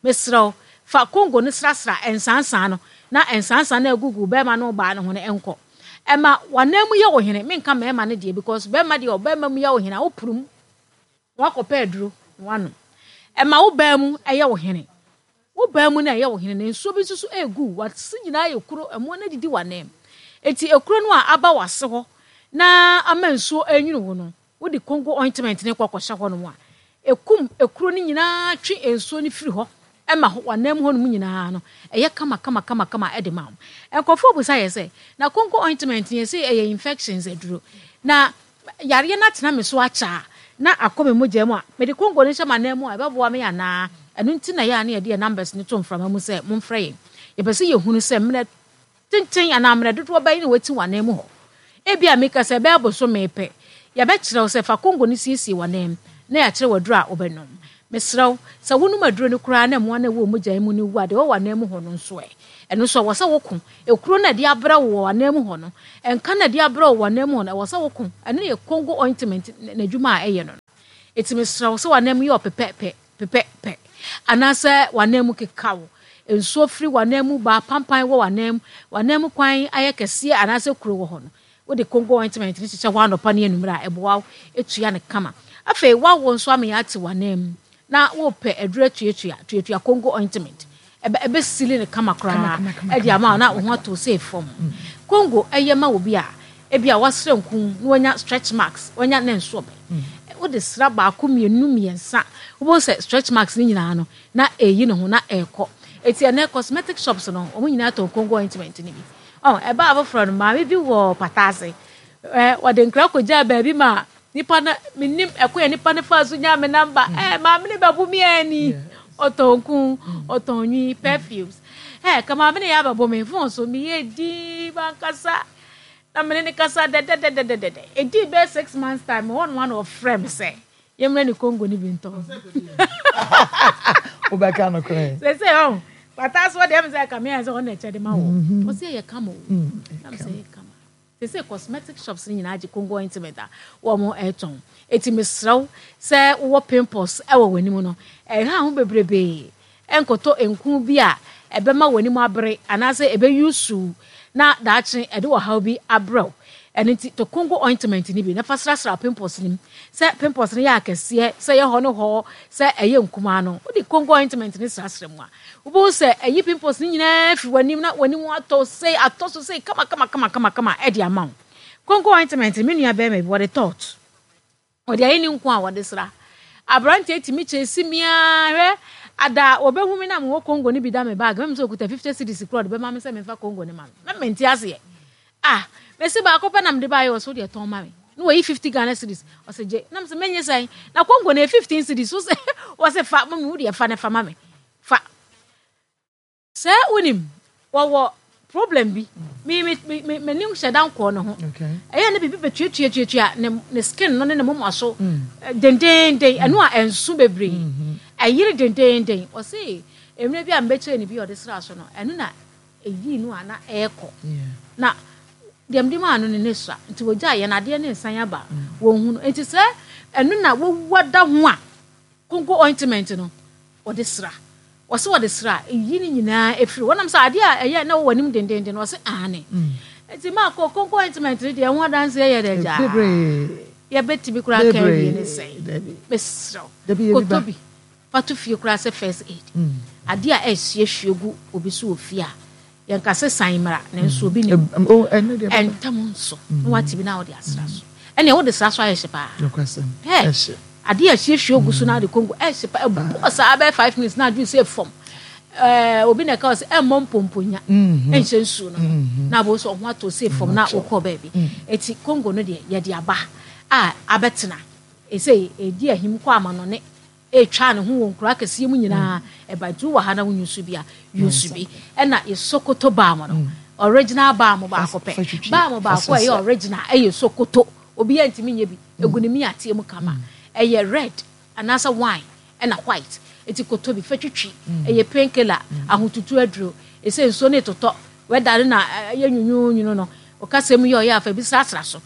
Speaker 4: mesrɛ wo, fa Congo no srasra nsansan no na nsansan no agugu bɛrima no wo baa no ho no nkɔ.
Speaker 7: Ɛma w'anan mu yɛ wo hene. Menka mmarima no deɛ, because barima deɛ, ɔbarima mu yɛ wo hene a, wopurum na wakɔpɛ aduro na wanom. Ɛma wo baa mu ɛyɛ wo hene. Wo baa mu no ɛyɛ wo hene na nsuo bi nso so ɛregu w'ase nyinaa yɛ kuro, ɛmoa no adidi w'anan mu. Eti ekuro no a aba w'ase hɔ na ama nsuo ɛnwini wo no, wode Congo ointment ne kɔ kɔhyɛ hɔ nom a, ekum ekuro no nyinaa, twe nsuo no firi hɔ, ɛma w'anan mu hɔ nom nyinaa no ɛyɛ kama kama kama kama ɛde ma wo. Nkurɔfoɔ busa yɛ sɛ, na Congo ointment yɛ sɛ ɛyɛ infections aduro, na yareɛ no atena me so akyɛ a na akɔ me mogya mu a, mede Congo no hyɛ m'anan mu a, ɛbɛboa me anaa? Ɛno nti na yɛ a ne yɛde yɛ numbers no to mframa mu sɛ momfrɛ yɛn. Yɛpɛ sɛ yɛhunu sɛ mmerɛ tenten anaa mmerɛ dodoɔ bɛyɛ na wati w'anan mu hɔ. Ebi a meka sɛ ɛbɛyɛ bosome pɛ, yɛbɛkyerɛ wo sɛ fa Congo no siesie w'anan mu na yɛakyerɛ w'aduro a wobɛnom. Mesrɛ wo, sɛ wonom aduro no koraa na mmoa no a ɛwɔ mogya mu no wu a, deɛ ɛwɔ w'anan mu hɔ no nso ɛ, ɛno nso ɛwɔ sɛ woko. Ekuro no a ɛde abrɛ wo wɔ w'anan mu hɔ no, nka no a ɛde abrɛ wo wɔ w'anan mu hɔ no, ɛwɔ sɛ woko. Ɛno yɛ Congo ointment n'adwuma a ɛyɛ no. Eti mesrɛ wo sɛ w'anan mu yɛ ɔpepɛpɛ pepɛpɛ anaasɛ w'anan mu keka wo, nsuo firi w'anan mu ba, pampan wɔ w'anan mu, w'anan mu kwan ayɛ kɛseɛ anaasɛ kuro wɔ hɔ no, wode Congo ointment no hyehyɛ hɔ anɔpa ne anwummerɛ a, ɛboa wo etua no kama. Afei wawo nso ama yɛate w'anan mu na wopɛ aduro atuatua, tuatua Congo ointment, ɛbɛ ɛbɛsili no kama koraa ɛde ama wo na wo ho ato sɛ fam. Congo ɛyɛ ma obi a ebi a wasrɛ nku na wanya stretch marks, wanya ne nso ɔbɛ wode sra baako, mmienu, mmiɛnsa, wobɛhu sɛ stretch marks no nyinaa no na ɛyi ne ho na ɛrekɔ. Eti ɛnɛ cosmetic shops no, wɔn nyinaa tɔn Congo ointment no bi. Ɔ ɛbaa foforɔ no, maame bi wɔ pataase, ɛɛ wɔde nkira kɔgyaa baabi ma nipa no, menim ɛkɔ yɛ nipa no fa so nya me number. ɛɛ maame no bɛbo mi ani, ɔtɔn nku, ɔtɔn nwi, perfumes. ɛɛ ka maame no yɛ abɛbo me phone so, meyɛ dii bankasa na mene ne kasa dɛdɛdɛdɛdɛdɛ. Edi bɛyɛ six months time hɔ nom ana ɔfrɛ me sɛ yɛmmerɛ ne Congo no bi ntɔn.
Speaker 2: Wobɛka no korɛ.
Speaker 7: Sɛ sɛ ɔn pata so deɛ, ɛmi sɛ kame ayɛ sɛ ɔna ɛkyɛ de ma wɔ, ɔsɛ ɛyɛ kama o, nam sɛ ɛyɛ kama. Sɛ sɛ cosmetic shops no nyinaa gye Congo ointment a wɔn ɛtɔn. Eti mesrɛw sɛ wowɔ pimples ɛwɔ w'anim no, ɛha ho bebrebee, ɛnkɔtɔ nku bi a ɛbɛma w'anim abere anaasɛ ɛbɛyusu na daakye ɛde ɔhaw bi abrɛw. Ɛno nti tɔ Congo ointment no bi na fa srasra pimples no mu. Sɛ pimples no yɛ akɛseɛ, sɛ ɛyɛ hɔ ne hɔ, sɛ ɛyɛ nkumaa no, wode Congo ointment no srasra mu a, wobɛhu sɛ ɛyi pimples no nyinaa firi w'anim na w'anim atɔ sei atɔ so sei kama kama kama kama kama ɛde ama wo. Congo ointment, me nua bɛrima bi wɔde tɔɔt, wɔde ayɛ ne nko a wɔde sra. Aberanteɛ tumi kyɛ si mia hwɛ ada wɔbɛhu mi na mewɔ Congo no bi da me bag mɛm sɛ okuta fifty cedis korɔ de bɛma me sɛ memfa Congo no ma no na mente aseɛ. Ah, mesi baako pɛ na mede baayɛ wɔ so deɛ, tɔn ma me na wɔyi fifty Ghana cedis. Ɔsɛ gye na mesɛ menye sɛn na Congo no yɛ fifteen cedis so sɛ wɔsɛ fa ma me, wo deɛ fa ne fa ma me fa. Sɛ wonim wɔwɔ problem bi, me me me me m'ani hyɛ da nkɔɔ ne ho, ɛyɛ ne biribi bɛtuatuatuatua ne ne skin no ne ne moma so dendenden, ɛno a ɛnso bebree, ɛyere dendenden. Ɔse mmerɛ bi a mbɛkyerɛ ne bi a ɔde sra so no, ɛno na ɛyii no a na ɛrekɔ na deɛ mede maa no ne ne sua nti wɔgyaa yɛn adeɛ ne nsan aba wɔn hu no. Nti sɛ ɛno na wɔwu ada ho a, Congo ointment no wɔde sra, wɔsɛ wɔde sra a, ɛyi ne nyinaa ɛfiri wɔnam sɛ adeɛ a ɛyɛ na wɔwɔ anim dendenden. Wɔsɛ aane. Nti maakɔ Congo ointment no deɛ, ɛho adanseɛ yɛ dɛ gyaa yɛbɛtumi koraa ka awie ne sɛn. Mesrɛ kɔtɔ bi fa to fie koraa sɛ first aid. Adeɛ a ɛhyia hwie gu obi so wɔ fie a, yɛnka sɛ san mmra, nanso obi nim ɛntam nso na wate bi na wode asra so, ɛnea wode sra so ayɛ hye paa. Ɛ adeɛ a ɛhyia hwie gu so na ade Congo ɛhye pa, ɛbɔ saa bɛyɛ five minutes na adwene sɛ fam. ɛɛ obi na ɛka wɔ sɛ ɛmmɔ mpomponya ɛnhyɛ nsuo no na abo sɛ ɔho atɔ sɛ fam na wokɔ baabi. Eti Congo no deɛ, yɛde aba a abɛtena ɛsɛ ɛdi ahim kɔ amanɔne, ɛtwa ne ho wɔ nkuro akɛseɛ mu nyinaa. Ɛba nti wɔ ha na wonyu so bi a, use bi. Ɛna yɛ Sokoto balm no, original balm baako pɛ, balm baako a ɛyɛ original ɛyɛ Sokoto. Obiara ntumi nyɛ bi. Egu ne mi ateɛ mu kama, ɛyɛ red anaasɛ wine ɛna white. Eti koto bi fɛ twitwi, ɛyɛ painkiller, ahotutu aduro. Ɛsɛ nsuo ne totɔ wɛda no na ɛyɛ nwunwunwunu no, ɔkasa mu yɛ ɔyɛ afa bi srasra so.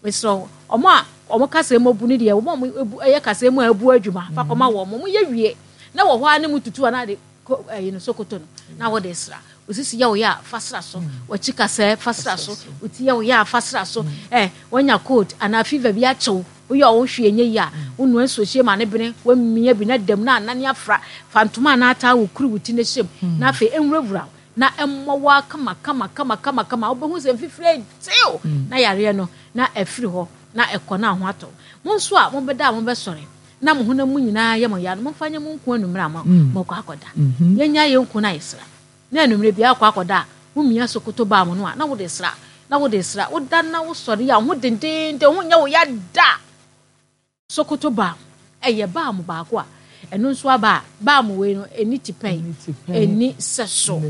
Speaker 7: Mesrɛ ɔmo a ɔmo kasa mu abu no deɛ, ɔmo a ɔmo ebu ɛyɛ kasa mu a ebu adwuma fa kɔma wɔn, ɔmo yɛ wie na wɔ hɔ a ne mu tutu a na de ko ɛyi no Sokoto no na wɔde sra. Wo sisi yɛ wo ya a, fa sra so. W'akyi kasɛɛ, fa sra so. Wo ti yɛ wo ya a, fa sra so. Ɛ, woanya cold anaa fever bi akye wo, woyɛ wo ho hwee nyɛ yie a, wonoa nsuohyeɛ ma no bene, woamia bi na da mu na anane afra. Fa ntoma anaa towel kuru wo ti na hyɛ mu, na afei ɛnwurawura wo na ɛmmɔ wo ara kama kama kama kama kama. Wobɛhu sɛ mfifire retew na yareɛ no na afiri hɔ na ɛkɔ na ho atɔ wo. Mo nso a mobɛda a mobɛsɔre na mo honam mu nyinaa yɛ mo ya no, momfa nyɛ mo nku anwummerɛ a morekɔ akɔda. Yɛnnyae yɛn nku no a yɛsra. Na anwummerɛ biara wokɔ akɔda a, womia sokoto baa mu no a, na wode resra, na wode resra. Woda na wosɔre a, wo ho dendeenden, wo ho nyɛ wo ya da. Sokoto balm, ɛyɛ balm baako a ɛno nso aba a, balm wei no, ɛnni tipɛn, ɛnni sɛso.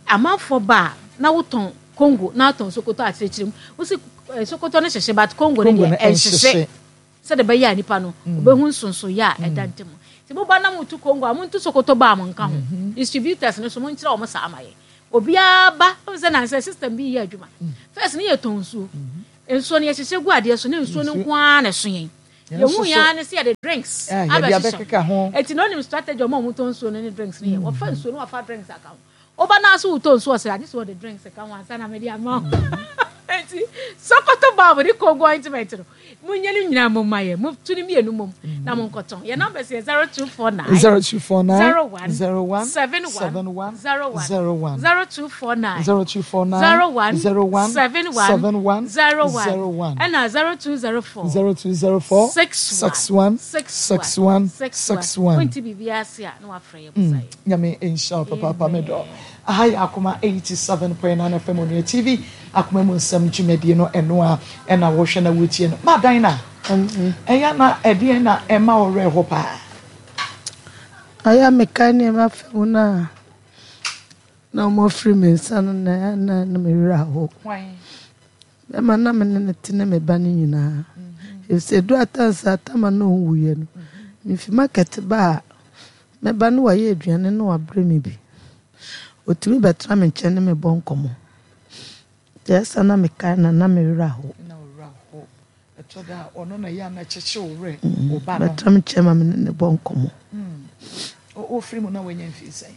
Speaker 7: Amanfoɔ ba a, na wotɔn Congo na atɔn Sokoto akyerɛkyerɛ mu. Wosi eh, Sokoto no hyehye but Congo no deɛ ɛnhyehye. Sɛdeɛ ɛbɛyɛ a nipa no ɔbɛhu nsonsoyɛ a ɛda ntam. Nti moba na motu Congo a, montu Sokoto balm nka ho. Distributors no nso monkyerɛ wɔn saa ma yɛn. Obiara ba, wohu sɛ nansɛ system bi yɛ adwuma. First no yɛtɔn nsuo. Nsuo no yɛhyehyɛ gu adeɛ so ne nsuo no nko ara na ɛso yɛn. Yɛhu yɛn ara ne sɛ yɛde drinks abɛhyehyɛ ho. Eti na onim strategy ɔmo a wɔtɔ nsuo no ne drinks no yɛ. Wɔfa nsuo no wɔfa drinks aka ho. Woba na so wotɔ nsuo ɔsɛ agye sɛ wɔde drinks ka ho ansa na mede ama wo. Eti Sokoto balm ne Congo ointment no monyɛ no nyinaa mmom ma yɛn. Motu no mmienu mmom na monkɔtɔn. Yɛn numbers yɛ zero two four nine
Speaker 2: zero two four nine
Speaker 7: zero one
Speaker 2: zero one
Speaker 7: seven one
Speaker 2: seven one
Speaker 7: zero one
Speaker 2: zero one
Speaker 7: zero two four nine
Speaker 2: zero two four nine
Speaker 7: zero one
Speaker 2: zero one
Speaker 7: seven one
Speaker 2: seven one
Speaker 7: zero one
Speaker 2: zero one
Speaker 7: ɛna zero two zero four
Speaker 2: zero two zero four
Speaker 7: six
Speaker 2: six
Speaker 7: one
Speaker 2: one
Speaker 7: six
Speaker 2: six
Speaker 7: one
Speaker 2: one
Speaker 7: six
Speaker 2: six
Speaker 7: one.
Speaker 2: one.
Speaker 7: Wonti biribi ase a na wafrɛ yɛ busa yɛ.
Speaker 2: Nyame nhyira wo papaapa me dɔ.
Speaker 7: Amen.
Speaker 2: Aha yɛ Akoma eighty seven point nine F M Onua T V Akoma mu nsɛm dwumadie no ɛno a ɛna wohwɛ na wotie no. Ma dan na ɛyɛ na ɛdeɛn na ɛma wo werɛ ho paa?
Speaker 3: Ayɛ a mekae nneɛma fa mu no a na wɔafiri me nsa no na ɛyɛ na na me werɛ aho.
Speaker 2: Hwan?
Speaker 3: Bɛma na me ne no te ne me ba no nyinaa. Ɛfisɛ ɛduru atansa atama na ɔnwuiɛ no, mefi market ba a, mɛba na wayɛ aduane na wabrɛ me bi. Ɔtumi bɛtena me nkyɛn ne me bɔ nkɔmmɔ. Nti ɛsa na mekae na na me werɛ aho.
Speaker 2: Na wo werɛ aho. Ɛtɔ da a ɔno na ɛyɛ a na ɛkyekye wo werɛ, wo ba no.
Speaker 3: Bɛtena me nkyɛn ma me ne no bɔ nkɔmmɔ.
Speaker 2: Ɔfiri mu na wanya mfie sɛn?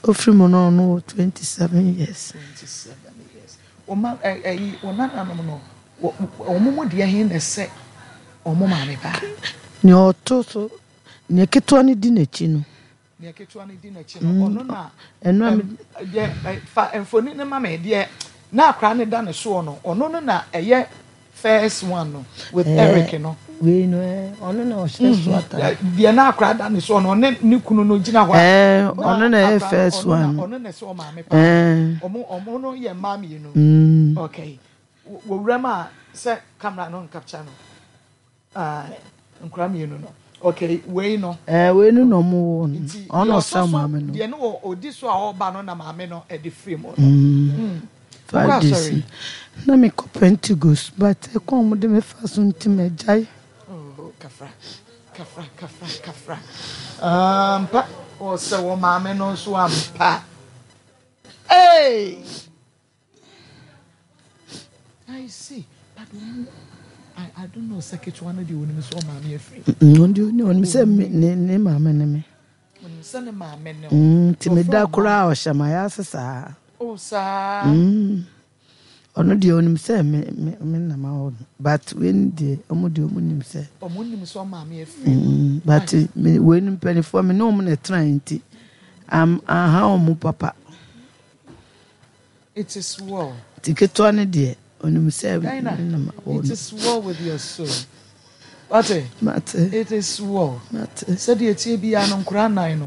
Speaker 3: Ɔfiri mu no ɔno wɔ twenty seven years.
Speaker 2: Twenty seven years. Wo ma ɛ ɛyi wo nananom no wɔ wɔn mu deɛ he na ɛsɛ wɔn maame paa?
Speaker 3: Nea ɔto so, nea ketewa no di n'akyi no.
Speaker 2: Nea ketewa no di n'akyi no, ɔno na
Speaker 3: Ɛno a
Speaker 2: ɛm
Speaker 3: me.
Speaker 2: Deɛ ɛ fa mfoni no ma me deɛ na akwadaa no da ne soɔ no, ɔno no na ɛyɛ first one no with Eric no.
Speaker 3: Wei no ɛ ɔno na ɔhyɛ so atare.
Speaker 2: Deɛ na akwadaa da ne soɔ no, ɔne ne kunu no gyina hɔ a.
Speaker 3: Ɛɛ ɔno na ɛyɛ first one.
Speaker 2: Ɔno na ɛsɛ ɔmaame paa. Ɔmo ɔmo no yɛ mmaa mmienu. Okay. Wɔ wuram a sɛ camera no ncapture no. Ah, nkwadaa mmienu no. Okay, wei no.
Speaker 3: Ɛɛ wei no na ɔmo wɔ no.
Speaker 2: Nti
Speaker 3: Ɔno
Speaker 2: deɛ
Speaker 3: ɔsɛ
Speaker 2: ɔtɔ so
Speaker 3: maame no.
Speaker 2: deɛ no wɔ odi so a ɔreba no na maame no ɛde firi mu no. Mm.
Speaker 3: Five
Speaker 2: Wokɔ
Speaker 3: days.
Speaker 2: asɔre?
Speaker 3: Na mekɔ Pentecost but ɛkɔn ɔmo de me fa so nti magyae.
Speaker 2: Oh, kafra, kafra, kafra, kafra. Ampa, ɔsɛ wɔ maame no nso ampa. Hey! I see. But ɔmo, I, I don't know sɛ ketewa no deɛ onim sɛ ɔmaame afiri.
Speaker 3: Ɔno deɛ onim sɛ me ne ne maame ne me.
Speaker 2: Onim sɛ ne maame ne wo.
Speaker 3: Mm, nti
Speaker 2: Ɔfrɛ
Speaker 3: meda
Speaker 2: wo mom.
Speaker 3: koraa a ɔhyɛ ma yɛ ase saa.
Speaker 2: Oh, saa.
Speaker 3: Mm. Ɔno deɛ onim sɛ me me me na ma wɔ no but wei no deɛ ɔmo deɛ ɔmo nim sɛ.
Speaker 2: Ɔmo nim sɛ ɔmaame afiri.
Speaker 3: Mm, but me wei no mpanimfoɔ me ne ɔmo na ɛtena nti am aha ɔmo papa.
Speaker 2: It is well.
Speaker 3: Nti ketewa no deɛ onim sɛ me
Speaker 2: Dinah,
Speaker 3: na ma wɔ
Speaker 2: it
Speaker 3: no.
Speaker 2: is well with your soul. Wate?
Speaker 3: Mate.
Speaker 2: It is well.
Speaker 3: Mate.
Speaker 2: Sɛdeɛ tie biara no nkora nnan no.